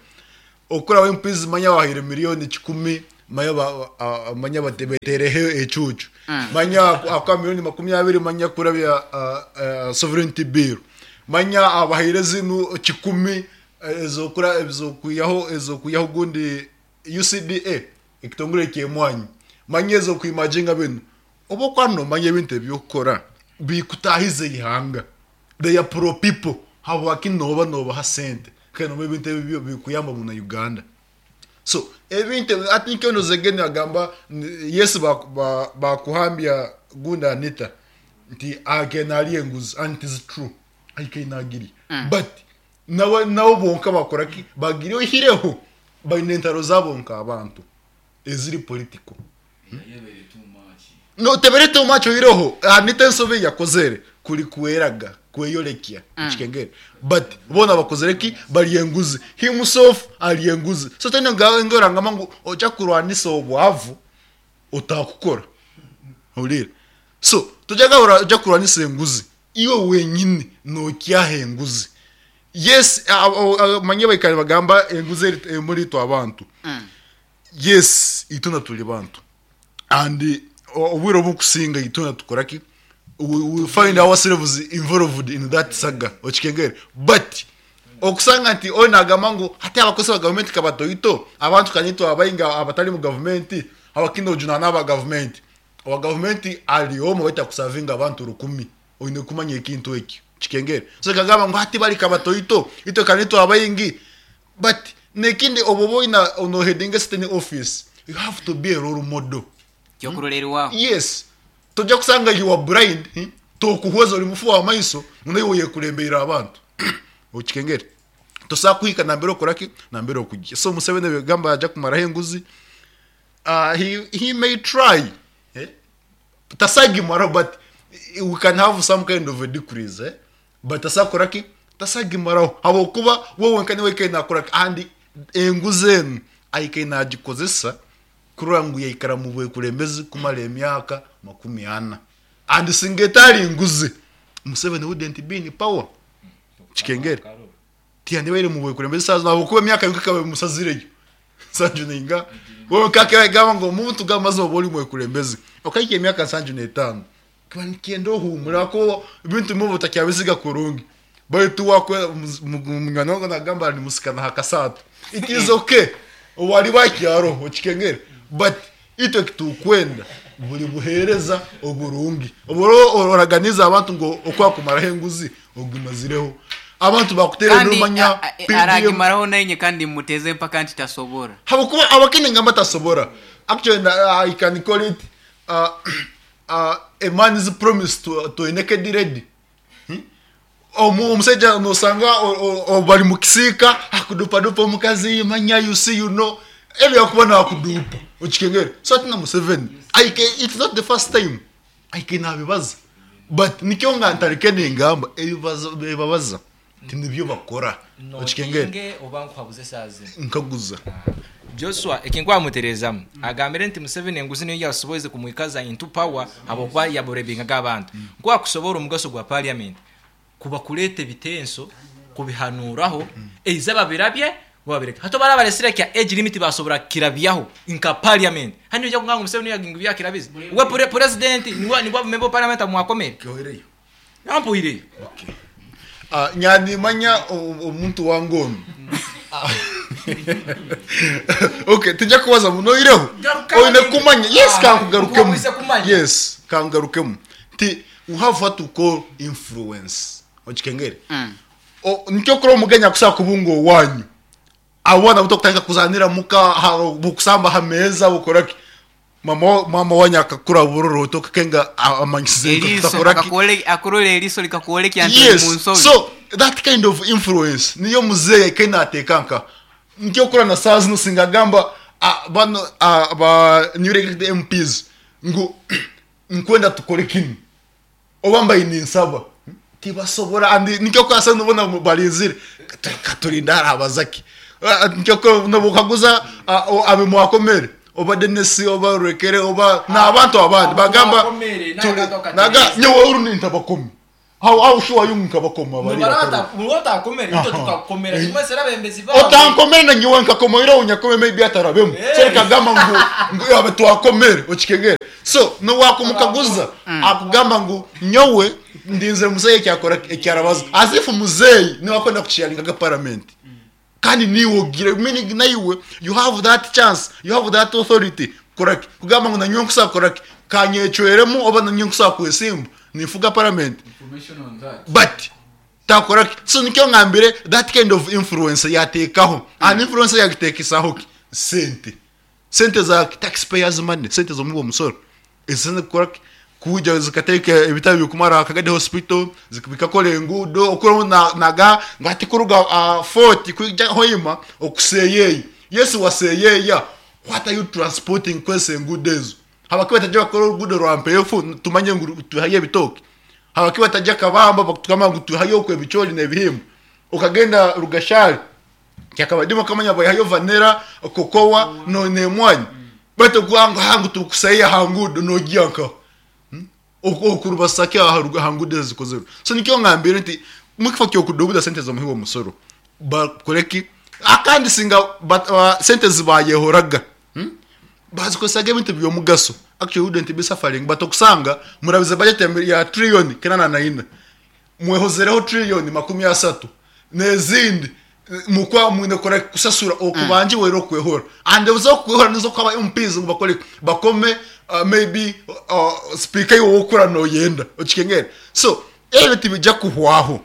C: okuraho empizi manya wahire miliyoni kikumi manya ba- a- manya batebetereho ecucu manya akwa miliyoni makumyabiri manya kurabya ah, ah, sovereignty bill manya abahire zinu kikumi eh, ezokura ezokuyaho ezokuyaho gundi U C D A ekitongole kyemwanyi manya ezokuimajinga binu oba kwano manya ebintu ebyokukora bikutahize ihanga. They are pro people. Habwaki noba nobaha sente kandi noba ebintu ebyo bikuyamba muna Uganda? So ebintu I think ono zegeni agamba n- yes, bakuhambya ba, ba gunda Anita nti agena ali enguzi, and it is true, aikenagiri mm. But nawe nabo bonka bakora ki bagire ohireho baine entaro zabo nka abantu eziri political. No tebere too much ohireho Anita ensobe yakozere kuri kweraga kweyorekya mm. Kikengere, but bona bakozere ki bali enguzi, himself ali enguzi. So tene ngorangama ngu oja kurwanisa obwavu otakukora hulira. So tujaga oja kurwanisa enguzi iwe wenyini nokyaha enguzi. Yes, manye baikari bagamba enguzi eri- emuri twe abantu. Yes, ituna tuli bantu and o- obwire obukusinga ituna tukora ki we, we find ourselves involved in that saga, okikengere. But okusanga nti oyo nagamba ngu hati abakozi ba gavumenti kabatoito abantu kanyitwa abainga abatali mu gavumenti abakina ojunana aba gavumenti owa gavumenti ali omu baita kusavinga abantu rukumi oine kumanya ekintu ekyo kikengere. So kagamba ngu hati bali kabatoito itwe kanitwa abaingi. But nekindi obo boina ono heading a certain office, you have to be a role model.
B: Kyokurolerwaho.
C: Yes, tojja kusanga you are blind, hmm? Tokuhweza oli mufu wa maiso naye yekulembera abantu, okikengere. Tosobola kuhika nambere okoraki nambere okujja. So Museveni bigamba ajja kumaraho enguzi, uh, he, he may try, eh? Tasagimaraho, but we can have some kind of a decrease, eh? But tasakoraki tasagimaraho habwokuba wowe nka niwe kaina akoraki and enguzi enu aikaina agikozesa kurora ngu yaikara mu bwekulembezi kumara emyaka makumi ana. And singa etali nguzi, Museveni wouldn't be in power, kikengere. Tiyandibaire mu bwekulembezi saza nabwokuba emyaka yonka musazireyo nsanju ninga wowe kakegamba ngo omuntu gamaze oba oli mwekulembezi okaika emyaka nsanju n'etaano kiba nikyenda ohumura ko ebintu bimwe otakyabisiga kurungi baitu wakwe munywani wange nagamba ni musikana hakasatu. It is okay wali bakyaro, okikengere. But itwe kitukwenda buli buhereza oburungi oburo oraganiza abantu ngo okwakumaraho enguzi ogimazireho abantu bakutera
B: Kandi
C: numanya
B: a- a- aragimaraho nainye kandi muteze mpaka nti tasobora.
C: Habwokuba abakene ngamba tasobora. Actually, uh, I can call it uh, uh, a man's promise to, to a naked lady. Hmm? Omu- omusajja nosanga o- o- o- bali mu kisiika akudupadupa omukazi manya you see, you know, ebyakuba nakudupa, okikengere. So ati na Museveni aike it's not the first time aike nabibaza, but nikyo nga ntareke nengamba ebibazo ebibabaza nti nibyo bakora, okikengere.
D: Notinge oba nkuhabuze esaazi?
C: Nkaguza.
D: Joshua ekinkwamuterezamu agambire nti Museveni enguzi niyo yasoboize kumwikaza into power habwokuba yaburebingaga abantu nkwakusobora omugaso gwa parliament kuba kuleeta ebitenso kubihanuraho eiza babirabye babireke hato barabaresire kya age limit basobora kirabyaho nka parliament hano ojja kugamba ngu Museveni yagingu byakirabize we pre- president niwe niwe member of parliament amwakomere.
C: Kyohereyo.
D: Ampuhireyo.
C: Ah, nyanimanya o- omuntu wange ono. Okay, tujja kubaza muno oireho
D: Garuka
C: oine
D: ninge.
C: kumanya. Yes.
D: Ah,
C: Kankugarukemu.
D: nkuhabuze kumanya.
C: Yes, kangarukemu nti we have what to call influence, okikengere. O- nikyo kuri omugenya kusaa kubunga owanyu abona buto kutandika kuzanira muka ha- bukusamba hameza bukoraki mama mama wanyu akakura buroro tokakenga amanyisize
B: Eriiso
C: takoraki
B: akakuole- akurora eriiso likakuolekya nti oli
C: Yes.
B: mu nsobi.
C: So that kind of influence niyo muzeeyi kenateeka nka nkyo na saa zino singagamba ah, bano ah, ba new elected M Ps ngu nkwenda tukore kinu oba mbaye ninsaba tibasobora and nikyo kwasa nubona balinzire katurinda harabazaki. Nikyo ko nobukaguza abe mwakomere oba Denisi oba Rekere oba n'abantu abandi bagamba
D: Mwakomere,
C: tuli-
D: naga
C: naga nyowe uru nintabakomi. How how sure are you nkabakoma bari otankomere na nyowe nkakomoira unyakome maybe atarabemu. So kagamba ngu ngu yabe twakomere okikengere. So no wakumukaguza akugamba ngu nyowe ndinze muzeyi kyakora ekyarabaza as if muzeyi ni wakwenda kuchialinga parliament. Kandi niwo gire meaning naiwe you have that chance, you have that authority. Correct. Kugamba ngu nanyo nkusa correct kanyecweremu oba nanyo nkusa kwesimba nifuga parliament.
F: Information on that.
C: But ta correct. So nikyo ngambire that kind of influence yatekaho. And influence yatekesaho sente. Sente za taxpayers money, sente zo mubo musoro. Ezene correct kuja zikateka ebitabo bikumara Kagadi hospital zikabikakora engudo okuro na naga ngati kuruga uh, forty kuja hoima okuseyeye. Yesu waseyeya. What are you transporting kwese engudo ezo? Habakiba tajja bakora orugudo rwa mpefu tumanye ngu tuhaye ebitoke. Habakiba tajja kabamba bakutukama ngu tuhaye okwe ebicholi n'ebihimba. Okagenda rugashari kyakabadimo kamanya bayayo vanera kokowa no nemwanyi. Bato kwanga hangu tukusaye hangudo no giyanka. Okurubasake aharuga hangudo zikozero. So nikyo ngambire nti mukifo kyo kudubuda sente zo muhiwo musoro. Bakoreki akandi singa but uh, sente zibayehoraga. Hmm? Bazikosaga ebintu byomugaso. Actually wouldn't be suffering but okusanga murabize budget ya trillion kenana na ina. Mwehozereho trillion makumi asatu. Nezindi mukwa mwine kora kusasura okubanje mm. wero kwehora. And uzo kwehora nizo kwaba M Ps ngo bakore bakome uh, maybe uh, speaker yo wokura no yenda okikengera. So ebintu bijja kuhwaho.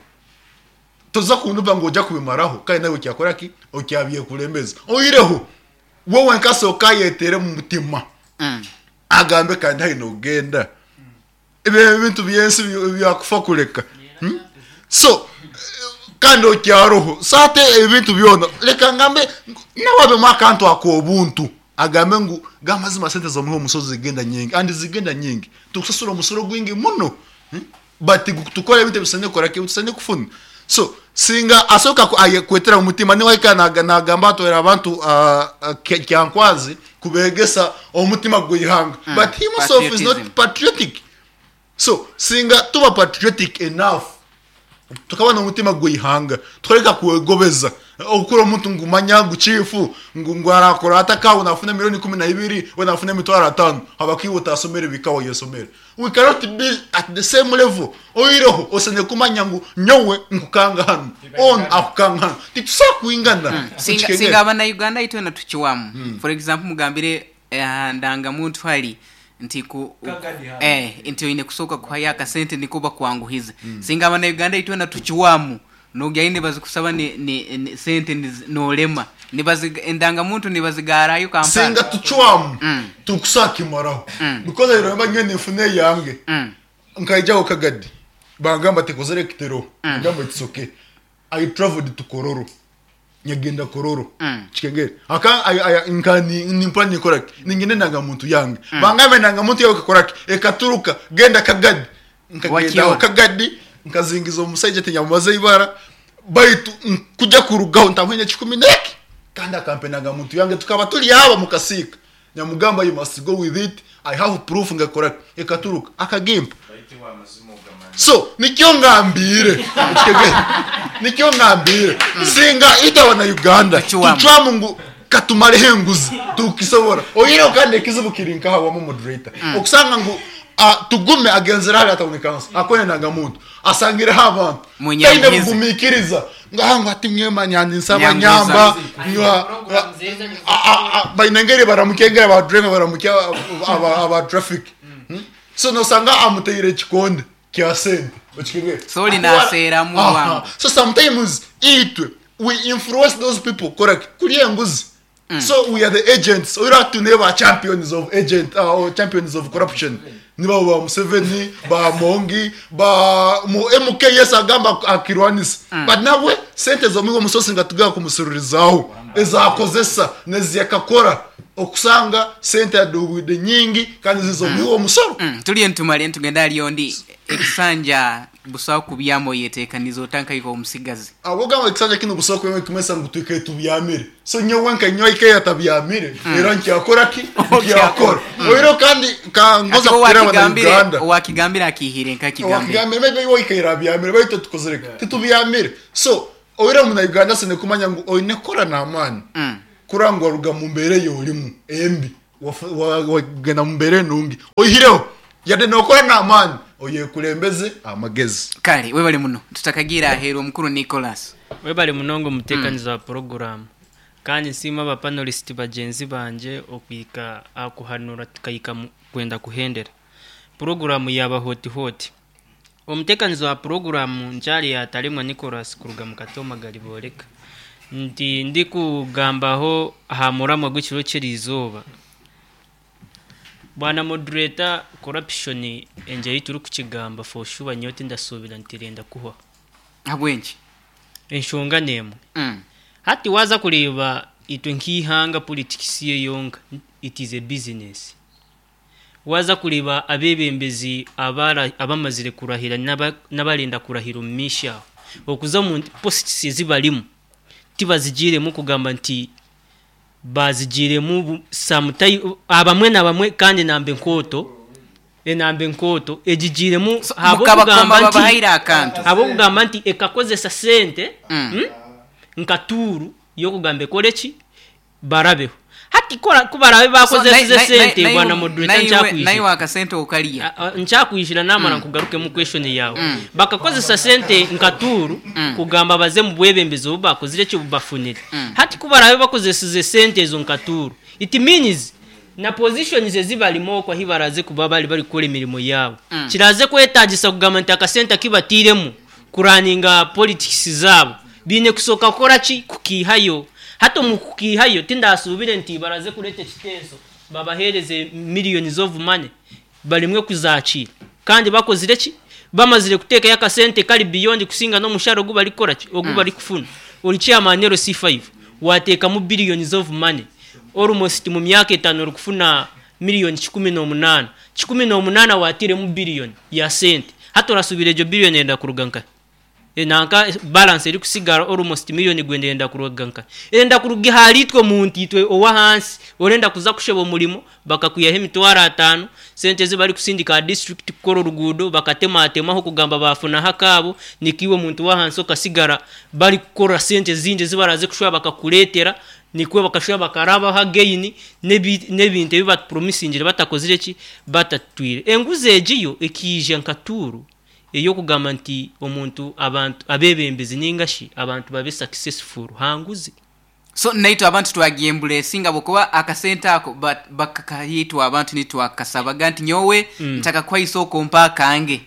C: Toza kunduba ngo ojja kubimaraho kandi nawe kyakora ki okyabiye kulembeza. Oyireho wowe nkasoka yetere mu mutima.
B: Mm.
C: Agambe kandi haino genda. Ibe bintu byensi byakufa kuleka. Hmm? So kandi okyaroho sate ebintu byona leka ngambe nawabe makantu akobuntu agambe ngu gamazima sente zo muho musozi zigenda nyingi and zigenda nyingi tukusasura umusoro gwingi muno. Hmm? But tukora ebintu bisane kora ke tusane kufuna. So singa asoka kwetera umutima ni waika nagamba atwera abantu uh, kyankwazi kubegesa omutima gwihanga.
B: Mm.
C: But he himself is not patriotic. So singa tuba patriotic enough tukabana umutima gwihanga twereka kuwegobeza okura omuntu ngumanya nguchifu ngwarakora ataka unafuna milioni kumi na ibiri we nafuna mitwaro atano abakiwuta asomere bikawa yesomere. We cannot be at the same level. Oyireho osene kumanya ngu nyowe nkukanga hano on akukanga hano titusa kuingana.
B: Mm. Singa, singa abana Uganda itwe na tuchiwamu. Mm. For example mugambire eh, ndanga muntu hali nti ku eh nti ine kusoka kuhaya kasente nikuba kwanguhiza. Mm. Singa abana Uganda itwe na tuchiwamu nogaine bazikusaba ni, ni, ni sente nolema nibazi endanga muntu nibazigarayo Kampala.
C: Singa tuchwamu
B: mm.
C: tukusakimaraho.
B: Mm.
C: Because I remember ngene fune yange.
B: Mm.
C: Nkaija Kagadi bangamba tekozere kitero.
B: Mm.
C: Ngamba it's okay. I traveled to Kororo. Nyagenda Kororo.
B: Mm.
C: Chikengere aka ay nkani nimpa nikora ningine nanga muntu yange.
B: Mm.
C: Bangambe nanga muntu yawe kakora ekaturuka genda Kagadi nkagenda Kagadi nkazingiza omusajja tinyamaze ibara baitu kujja kurugaho ntamwenye kikumi neki kandi akampenaga muntu yange tukaba tuli aba mukasika nyamugamba you must go with it I have proof ngakora ekaturuka akagimpa. So nikyo ngambire nikyo ngambire singa itawa na Uganda tuchwamu ngu katumale henguzi tukisobora oyiro kandi ekizibu kiri nkaha wa moderator.
B: Mm.
C: Okusanga ngu uh, tugume agenzera hali ataonekana akone nanga muntu asangire abantu
B: Munyangizi.
C: mugumikiriza ngahangu ati mwema nyandi nsaba nyamba nywa bainengere baramukengera ba driver baramukia aba aba traffic. Hmm? So nosanga amuteire kikonde kya sente okikengere
B: Soli nasera mu wangu.
C: So sometimes itwe we influence those people correct kuri enguzi.
B: Mm.
C: So we are the agents. We are to never champions of agent uh, or champions of corruption. Niba ba Museveni, ba Mongi, ba mu M K S agamba akirwanisa.
B: Mm.
C: But nawe sente zo migo musosi ngatuga kumusururizaho. Ezakozesa neziyakakora okusanga sente adubide nyingi kandi zizo
B: Mm.
C: migo musoro.
B: Mm. Tuliye ntumale ntugenda aliyo ndi Ekisanja busaho kubyama oyeteekaniza otankaika omusigazi.
C: Abogamba ekisanja kino busobola kuba kimesa ngu twikaye tubyamire. So nyowe nka nyowe ikaye atabyamire, era nkyakora ki? Nkyakora. Oiro kandi kangoza
B: Ati
C: kukira
B: owakigambire
C: Uganda.
B: owakigambire akihire nkakigambire.
C: Owakigambire maybe iwe ikaye abyamire baitu tukozere ki? Titubyamire. So oira muna Uganda sine kumanya ngu oine kora n'amaani.
B: Mm.
C: Kurangwa ruga mu mbeere y'olimu embi. Wagenda mu mbeere nungi. Oihireho yadde nokora n'amaani oyekulembeze amagezi.
B: Kale webale muno tutakagira aheeru omukuru Nicholas.
H: Webale munonga omuteekaniza wa poroguramu, kandi nsiima abapanelisiti bagyenzi bangye okwika akuhanura tukahika kwenda kuhendera poroguramu yaba hoti hoti. Omuteekaniza wa poroguramu nkyari yatalemwa Nicholas kuruga mu Katoma Gariboreka, nti ndikugambaho aha muramwa gw'ekiro ky'erizooba. Bwana moderator, corruption enje turi kukigamba for sure nyowe tindasuubira nti renda kuhwa.
B: Habwenki?
H: Enshonga n'emwe.
B: Mm.
H: Hati waza kureeba itwe nk'ihanga politics yeyonka it is a business. Waza kureeba abebembezi abara abamazire kurahira n'abarenda kurahira omu maisho aho, okuza omu posts ezibarimu tibazigiremu kugamba nti bazigiremu sometime abamwe nabamwe, kandi nambe enkoto enambe enkoto egigiremu
B: mukabakoma babahaire akantu
H: habwokugamba nti ekakozesa sente
B: Mm.
H: mm, nka tuuru yokugamba ekore ki barabeho. Hati kora kubarabe bakozesa sente bwana moderator, nkyakwijira
B: naye akasente okalya
H: nkyakwijira namara nkugarukemu question yawe. Bakakozesa sente nka tuuru kugamba baze mu bwebembezi obu bakozire ekyo bubafunire. Hati kubarabe bakozesize sente ezo nka tuuru, it means na positions ezibarimu okwo ahi baraze kuba bari bari kukora emirimo yaabo, kiraze kwetagisa kugamba nti akasente akibatiremu kuraninga politics zaabo biine kusooka kukora ki kukiihayo. Hati omu kukiihayo tindasuubire nti baraze kureeta ekiteeso babaheereze millions of money barimwe kuzakiira, kandi bakozire ki bamazire kuteekayo akasente kari beyond kusinga n'omushahara ogu barikukora ki ogu barikufuna. Ori chairman L C five wateekamu billions of money almost mu myaka etaano orikufuna miliyoni kikumi n'omunaana, kikumi n'omunaana watiremu billion ya sente. Hati orasuubira egyo billion enda kuruga nkahi? Nanka balance eri kusigara almost million gwenda enda kuruga nkahi? Enda kuruga ahari itwe muntu itwe owahansi orenda kuza kusheba omurimo bakakwihaho emitwaro ataano, sente ezi barikusindika aha district kukora oruguudo bakatematemaho kugamba bafunaho akaabo, nikiwe omuntu wahansi okasigara barikukora sente ezindi ezi baraze kushuba bakakureetera, nikwe bakashuba bakarabaho again n'ebintu ebi batupromisingire batakozire ki batatwire. Enguzi egiyo ekiija nka tuuru ey'okugamba nti omuntu abantu abebembezi ningashi abantu babe successful hanguzi.
B: So naitwe abantu twagyembula esinga bwokuba akasente ako bakakahitwa abantu nitwakasabaga nti nyowe mm. ntakakwaiso okompa akange.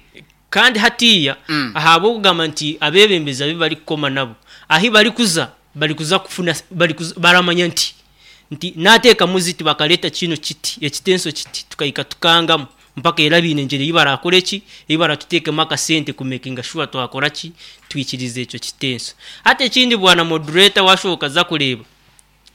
H: Kandi hatiya mm. ahabw'okugamba nti abebembezi abi barikukoma nabo ahi barikuza barikuza kufuna barikuza baramanya nti nti nateeka muziti bakaleta kino kiti ekitenso kiti tukayika tukangamu mpaka era biine enjeri ei barakora eki ei baratuteekemu akasente kumakinga sure twakora ki twikirize ekyo kitenso. Hati ekindi bwana moderator washoboka za kureeba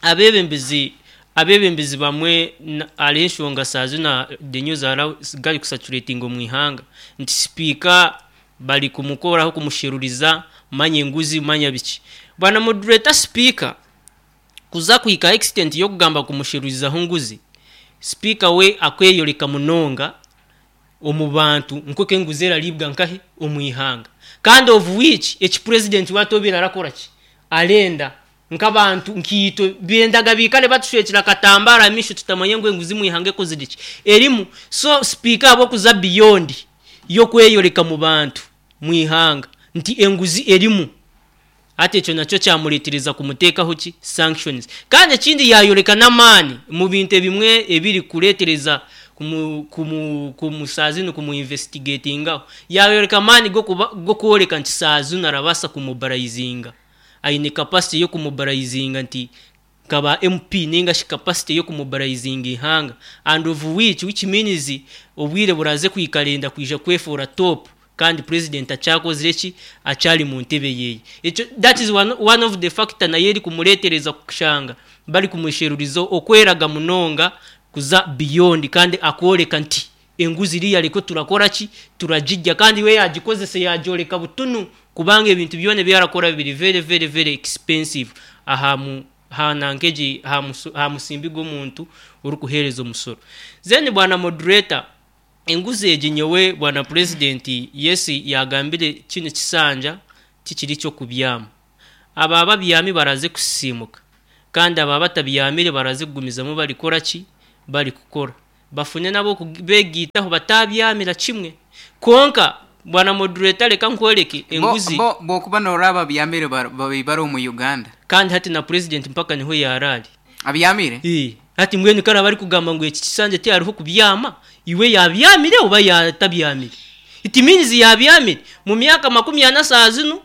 H: abebembezi abebembezi bamwe ari enshonga saazina the news ara gari kusaturating omu ihanga nti speaker bari kumukoraho kumusheruriza manya enguzi manya biki. Bwana moderator, speaker kuza kuhika extent yokugamba kumusherurizaho nguzi, speaker we akweyoreka munonga omu bantu nkoke enguzi eraribwa nkahe omu ihanga, kandi of which eki president watobera arakora ki arenda nkabantu nkiito bendaga bikale batushwekera katambara misho tutamanye ngo enguzi mu ihanga ekozire ki erimu. So speaker abo kuza beyond yokweyoreka mu bantu mu ihanga nti enguzi erimu, ate ekyo nakyo kyamureetereza kumuteekaho ki sanctions. Kandi ekindi yayoreka n'amaani mu bintu ebimwe ebiri kureetereza kumu kumu kumusazino kumuinvestigatingaho, yayoreka amaani g'okworeka nti sazino arabasa kumobarayizinga, aine capacity y'okumobarayizinga nti kaba M P ninga shi capacity y'okumobarayizinga ihanga, and of which which means obwire buraze kwikarenda kwija kwefora top kandi president achakozire ki achali mu ntebe yeye. Ekyo that is one, one of the factor naye eri kumureetereza kushanga bari kumusherurizo okweraga munonga kuza beyond, kandi akoreka nti Enguzi iriya reko turakora ki? Turagijja. Kandi we yagikozesa yagyoreka butunu, kubanga ebintu byona ebyarakora biri very very very expensive aha mu hanankeji aha musimbi gw'omuntu orikuheereza omusoro. Then bwana moderator, enguzi egi nyowe bwana president yesi yagambire kino kisanja tikiri kyokubyama. Aba babyami baraze kusimuka, kandi aba batabyamire baraze kugumizamu barikora ki? Bari kukora bafune nabo beegitaho batabyamira kimwe. Konka bwana moderator, reka nkwereke enguzi.
B: Bo bokuba noraba byamire bari omu Uganda,
H: kandi hati na president mpaka niho yarari
B: abyamire.
H: Eh, hati mbwenu kara bari kugamba ngu eki kisanja tihariho kubyama, iwe yabyamire oba yatabyamire? It means yabyamire mu myaka makumi ana saa zino,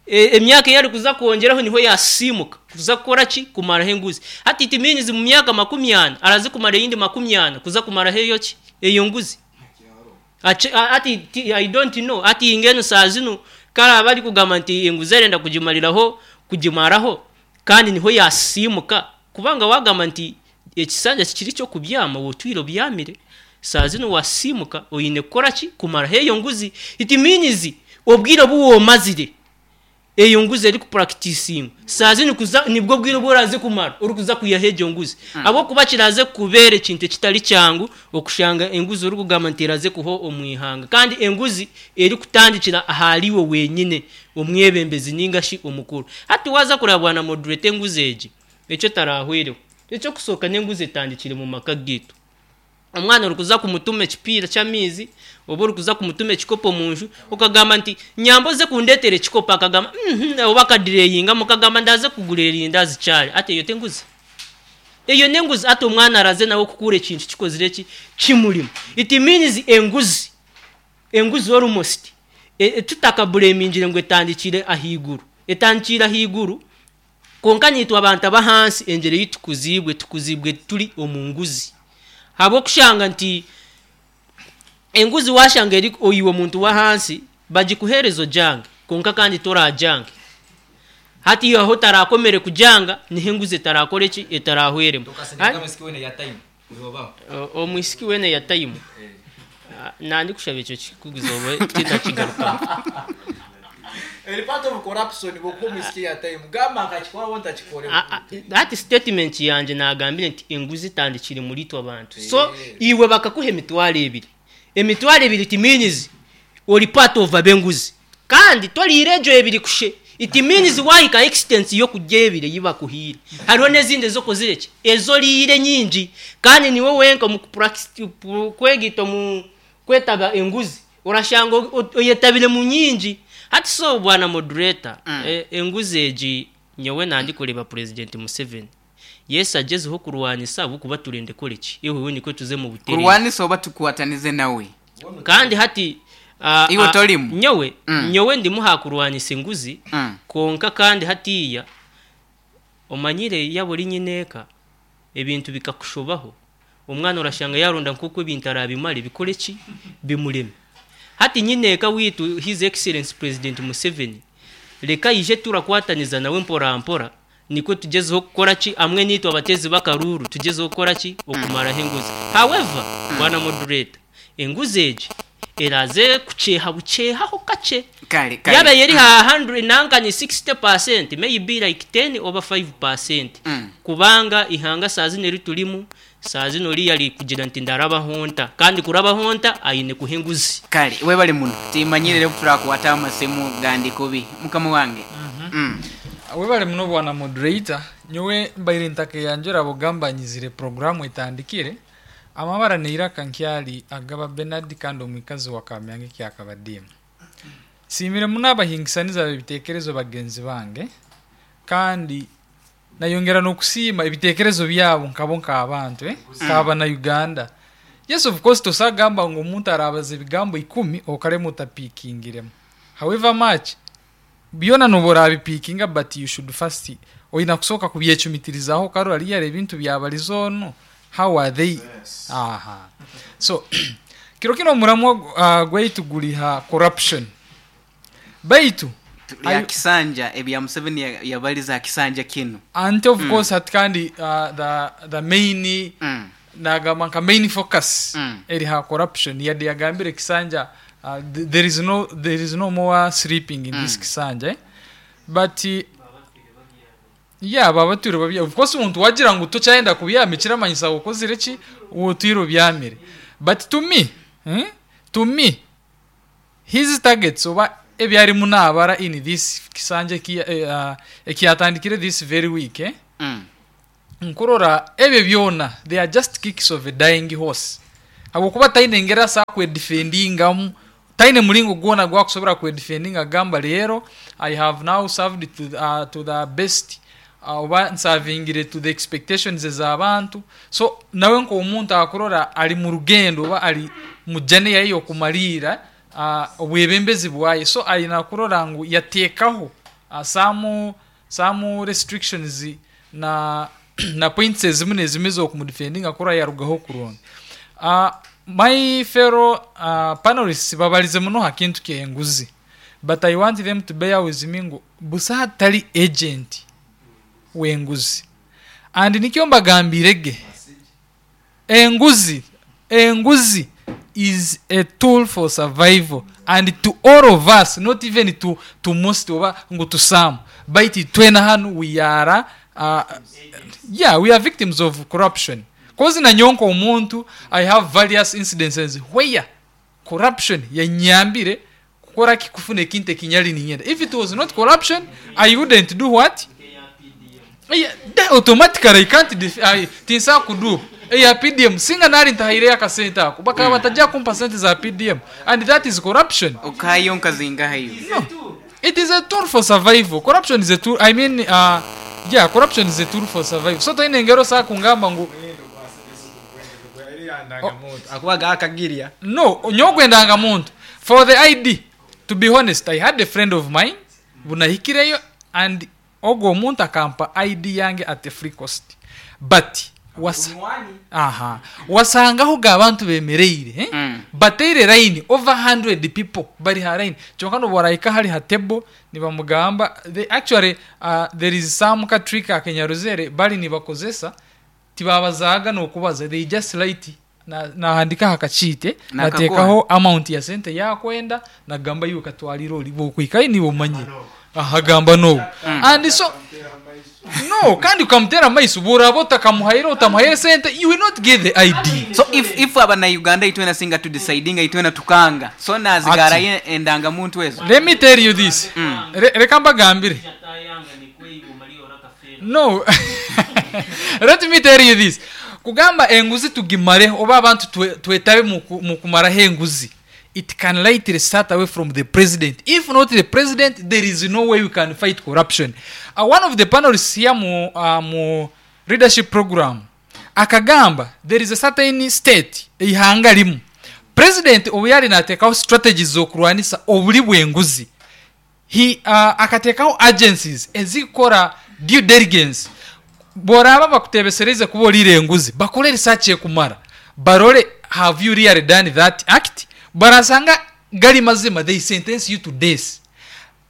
H: emyaka eyari kuza kwongeraho niho yasimuka kuza kukora ki? Kumaraho enguzi. Hati it means mu myaka makumi ana araze kumara eyindi makumi ana kuza kumaraho eyo ki? Eyo nguzi. Ati I don't know. Ati ingeno saa zino kara bari kugamba nti enguzi arenda kugimariraho kugimaraho, kandi niho yasimuka, kubanga wagamba nti ekisanja kikiri cyo kubyama, wotwiro byamire saa zino wasimuka oyine kukora ki? Kumaraho eyo nguzi. It means obwire buwomazire eyo nguzi eri kupracticing saa zino kuza nibwo bwire bworaze kumara ori kuza kuyaha egyo nguzi. mm. Abo kuba kiraze kubera ekintu ekitari kyangu okushanga enguzi ori kugamba nti eraze kuho omwihanga, kandi enguzi eri kutandikira ahariwe wenyine omwebembezi ningashi omukuru. Hati waza kurabwana moderator, enguzi egi ekyo tarahwireho. Ekyo kusoka n'enguzi etandikire mu maka gitu. Omwana ori kuza kumutuma ekipiira ky'amaizi oba ori kuza kumutuma ekikopo munju, okagamba nti nyamboze kundeetera ekikopo, akagamba mm oba akadireyinga mukagamba ndaze kugura erindazi kyari. Ati eyo tenguzi, eyo nenguzi. Ati omwana araze nawe kukura ekintu kikozire ki kimurimu. It means enguzi enguzi almost e, tutakabulemingire ngu etandikire ahiguru, etandikire ahiguru. Konka nitwe abantu abahansi enjere yitukuzibwe tukuzibwe turi omu nguzi. Habwokushanga nti enguzi washanga eri oyiwe omuntu wa hansi bagikuhereza ojange, konka kandi torajange. Hati aho tarakomere kujanga niho enguzi etarakora eki? Etarahweremu. Omwisiki wene ya time nandi kushaba ekyo kikuguza oba titakigarukamu.
D: Eri part of corruption boko mwisiki ya time gamba akakikora wonta kikore.
H: That statement yanje nagambire nti enguzi tandikire muri twe abantu. So iwe bakakuha emitwaro ebiri, emitwaro ebiri it means ori part of abenguzi, kandi toriire ejo ebiri kushe. It means wahika extent yo kujya ebire yibakuhire. Hariho n'ezindi ezokozire ki ezoriire nyingi, kandi niwe wenka mu kwegita mu kwetaba enguzi orashanga oyetabire mu nyingi. Hati so bwana moderator, mm. e, enguzi egi nyowe nandi kureba President Museveni yes agezeho kurwanisa bukuba turende koleki iwe niko tuze mu butere
B: kurwanisa oba tukwatanize nawe.
H: Kandi hati uh,
B: iwe tolimu
H: nyowe mm. nyowe ndimu hakurwanisa enguzi mm. Konka kandi hatiya omanyire yaburi nyineka ebintu bikakushobaho omwana orashanga yaronda nkuko ebintu arabimare bikore ki bimureme. Hati nyineka witu His Excellence President Museveni leka ije turakwataniza nawe mpora mpora niko tugezeho kukora ki amwe nitwe abatezi bakaruru tugezeho kukora ki okumaraho enguzi. However bwana moderator, enguzi egi eraze kucheha buchehaho kache
B: kale kale
H: yaba yeri ha one hundred sixty percent maybe like ten over five percent. mm. Kubanga ihanga saa zino ritulimu saa zino yali kugira nti ndaraba honta, kandi kuraba honta ayine kuhenguzi.
B: Kale we bali muno timanyire turakwata amasemu gandi kubi mukama wange.
E: mm -hmm. mm. We bali muno bwana moderator, nyowe mbaire ntake yanjura bugambanyizire programu etandikire amabara neiraka nkyali agaba Bernard kandi omwikazi wa Kamyange kyakabadimu. Simire munabahingisaniza ebitekerezo bagenzi bange, kandi nayongera nokusima ebitekerezo byabo nkabo nkabantu eh kaba na Uganda. Yes, of course tosagamba ngo omuntu arabaza ebigambo ikumi okare mutapikingiremo. However much byona nobora bipikinga, but you should first oyina kusoka kubyecumitirizaho karora yare ebintu byabalizono. How are they? Yes. Aha. So kiro kino muramwa uh, gwaitu guliha corruption. Baitu
B: ya kisanja ebya Museveni yabaliza kisanja kino.
E: And of mm. course at kandi uh, the the main mm. Nagamba nka main focus
B: Mm.
E: eri ha corruption, yadde yagambire kisanja, uh, th- there is no there is no more sleeping in this kisanja, eh? But uh, yeah, babatwire babya, of course omuntu wagira ngu tokyayenda kubyama kiramanyisa okozire ki wotwire obyamire. But to me, eh? To me, his targets oba ebyarimu nabara in this kisanja eki- eh, uh, ekiyatandikire this very week, eh?
B: Mm.
E: Nkurora ebyo byona, they are just kicks of a dying horse, habwokuba taine engeri asa kwedefendingamu, taine mulingo gwona gwakusobora kwedefendinga agamba leero I have now served to, uh, to the best, uh, oba nsavingire to the expectations ez'abantu. So nawe nk'omuntu akurora ali mu rugendo oba ali mu journey yaye y'okumaliira uh, obwebembezi bwaye, so ayina kurora ngu yateekaho uh, some, some restrictions na na points ezimu nezimu ez'okumudefendinga kurora yarugaho kurungi. uh, my fellow uh, panelists babalize muno ha kintu ky'enguzi, but I want them to bear with me ngu busa hatali agent w'enguzi, and nikyo mbagambire ge enguzi enguzi is a tool for survival, and to all of us, not even to, to most oba ngu to some, baitu twena hanu we are uh, yeah, we are victims of corruption, cause nanyonka omuntu, I have various incidences where corruption yanyambire kukora kikufuna ekintu ekinyali ninyenda. If it was not corruption, I wouldn't do what. Yeah, that automatically I can't def- I, tinsa kudu eya P D M, singa nali ntahaireyo akasente ako, bakaba batajja kumpa sente za P D M, and that is corruption.
B: Okayo nkazingahayo.
E: No, it is a tool for survival. Corruption is a tool, I mean, uh, yeah, corruption is a tool for survival. So toine engero saa kungamba ngu
D: Akubaga akagirya.
E: No, nyogwendanga muntu for the I D. To be honest, I had a friend of mine bunahikireyo, and ogwo omuntu akampa I D yange at a free cost, but was, aha, wasangaho ga abantu bemereire, eh?
B: Mm.
E: Bateire line, over one hundred people bari ha line, kyonka noborahika hari ha table nibamugamba they actually, uh, there is some ka trick akenyaruzere bari nibakozesa, tibabazaga nokubaza, they just write na- nahandika hakachite.
B: Nakakuha.
E: Natekaho amount ya sente yakwenda, nagamba yuko katwalira oli bokwikayo niwe omanyire ahagamba nobu, and so no, kandi ukamutera amaiso buraba otakamuhaire otamuhaire sente, you will not get the I D.
B: So if, if abanauganda itwena singa tudecidinga itwena tukanga, so nazigarayo endangamuntu ezo.
E: Let me tell you this. Re- reka mbagambire, no, let me tell you this, kugamba enguzi tugimare oba abantu twe- twetabe mu ku- mu kumaraho enguzi, it can lightly start away from the president. If not the president, there is no way we can fight corruption. uh, one of the panelists here mu, uh, mu leadership program akagamba there is a certain state, eihanga limu, president obu yali nateekaho strategies z'okurwanisa obuli bw'enguzi, he uh, akateekaho agencies ezikora due diligence. Boraba bakutebesereze kuba olire enguzi, bakore research ekumara, barole, have you really done that act? Barasanga gali mazima, they sentence you to death.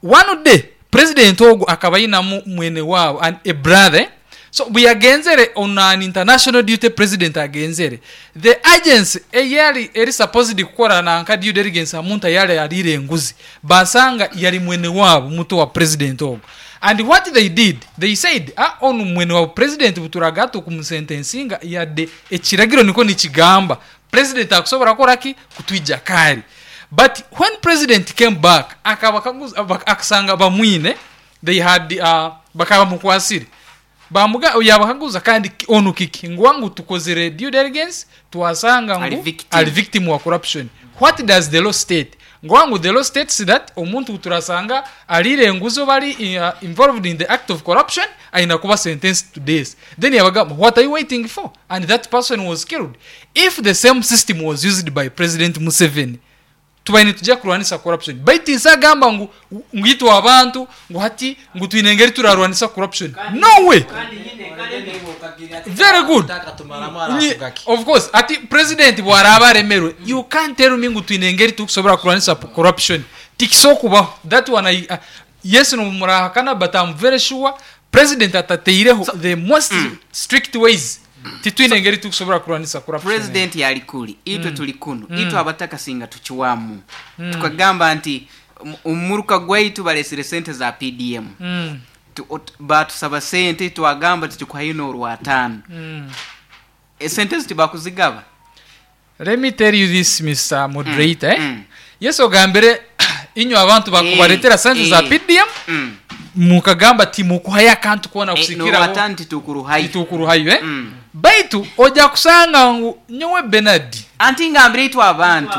E: One day president ogwo akaba ayinamu mwene waabo and a brother, so bwe yagenzere on an international duty, president agenzere, the agency eyali eri supposed kukora nanka due diligence amuntu ayali alire enguzi, basanga yali mwene waabo muto wa president ogwo. And what they did, they said, ah, onu mwene wa president, buturaga tukumusentensinga, yadde ekiragiro niko nikigamba president akusobora kukoraki kutwija kari. But when president came back, akaba kaguza- bak- akasanga bamwine, they had uh, bakaba mukwasire, bamuga yabakaguza kandi ki- onu kiki ngwangu tukozere due diligence, twasanga
B: Ali
E: ngu
B: victim.
E: Ali victim wa corruption. What does the law state? Ngwangu the law states that omuntu turasanga alire enguzi bali uh, involved in the act of corruption aina kuba sentenced to death. Then yabagamba, what are you waiting for? And that person was killed. If the same system was used by President Museveni, tubaine tujja kurwanisa corruption. Baitu nsagamba ngu ngwitwa abantu ngu hati ngu twine engeri turarwanisa corruption, no way. Very good. Nyi- of course ati president bwaraba aremerwe, you can't tell me ngu twine engeri tukusobora kurwanisa p- corruption, tikisokubaho. That one I, uh, yes, nomurahakana, but I'm very sure president atateireho the most strict ways. Titwine engeri tukusobora kurwanisa corruption.
B: President yali kuli itwe tuli kuno, itwe abatakasinga tukiwamu, tukagamba nti "Omu- omuruka gwaitu balesere sente za P D M.
E: Mm.
B: Tu- ot- batusaba sente, twagamba titukuhayo n'orwataano.
E: Mm.
B: Esente ezi tibakuzigaba.
E: Let me tell you this, Mister Moderator, eh?
B: Mm.
E: Yes, ogambire inywe abantu bakubaletera sente za
B: eh.
E: P D M,
B: Mm.
E: mukagamba timukuhayo akantu kona
B: Eh,
E: kusikiraho.
B: N'orwataano titukuruhayo.
E: Titukuruhayo, eh?
B: Mm.
E: Baitu ojja kusanga ngu nyowe Benard
B: Anti ngambire itwe abantu.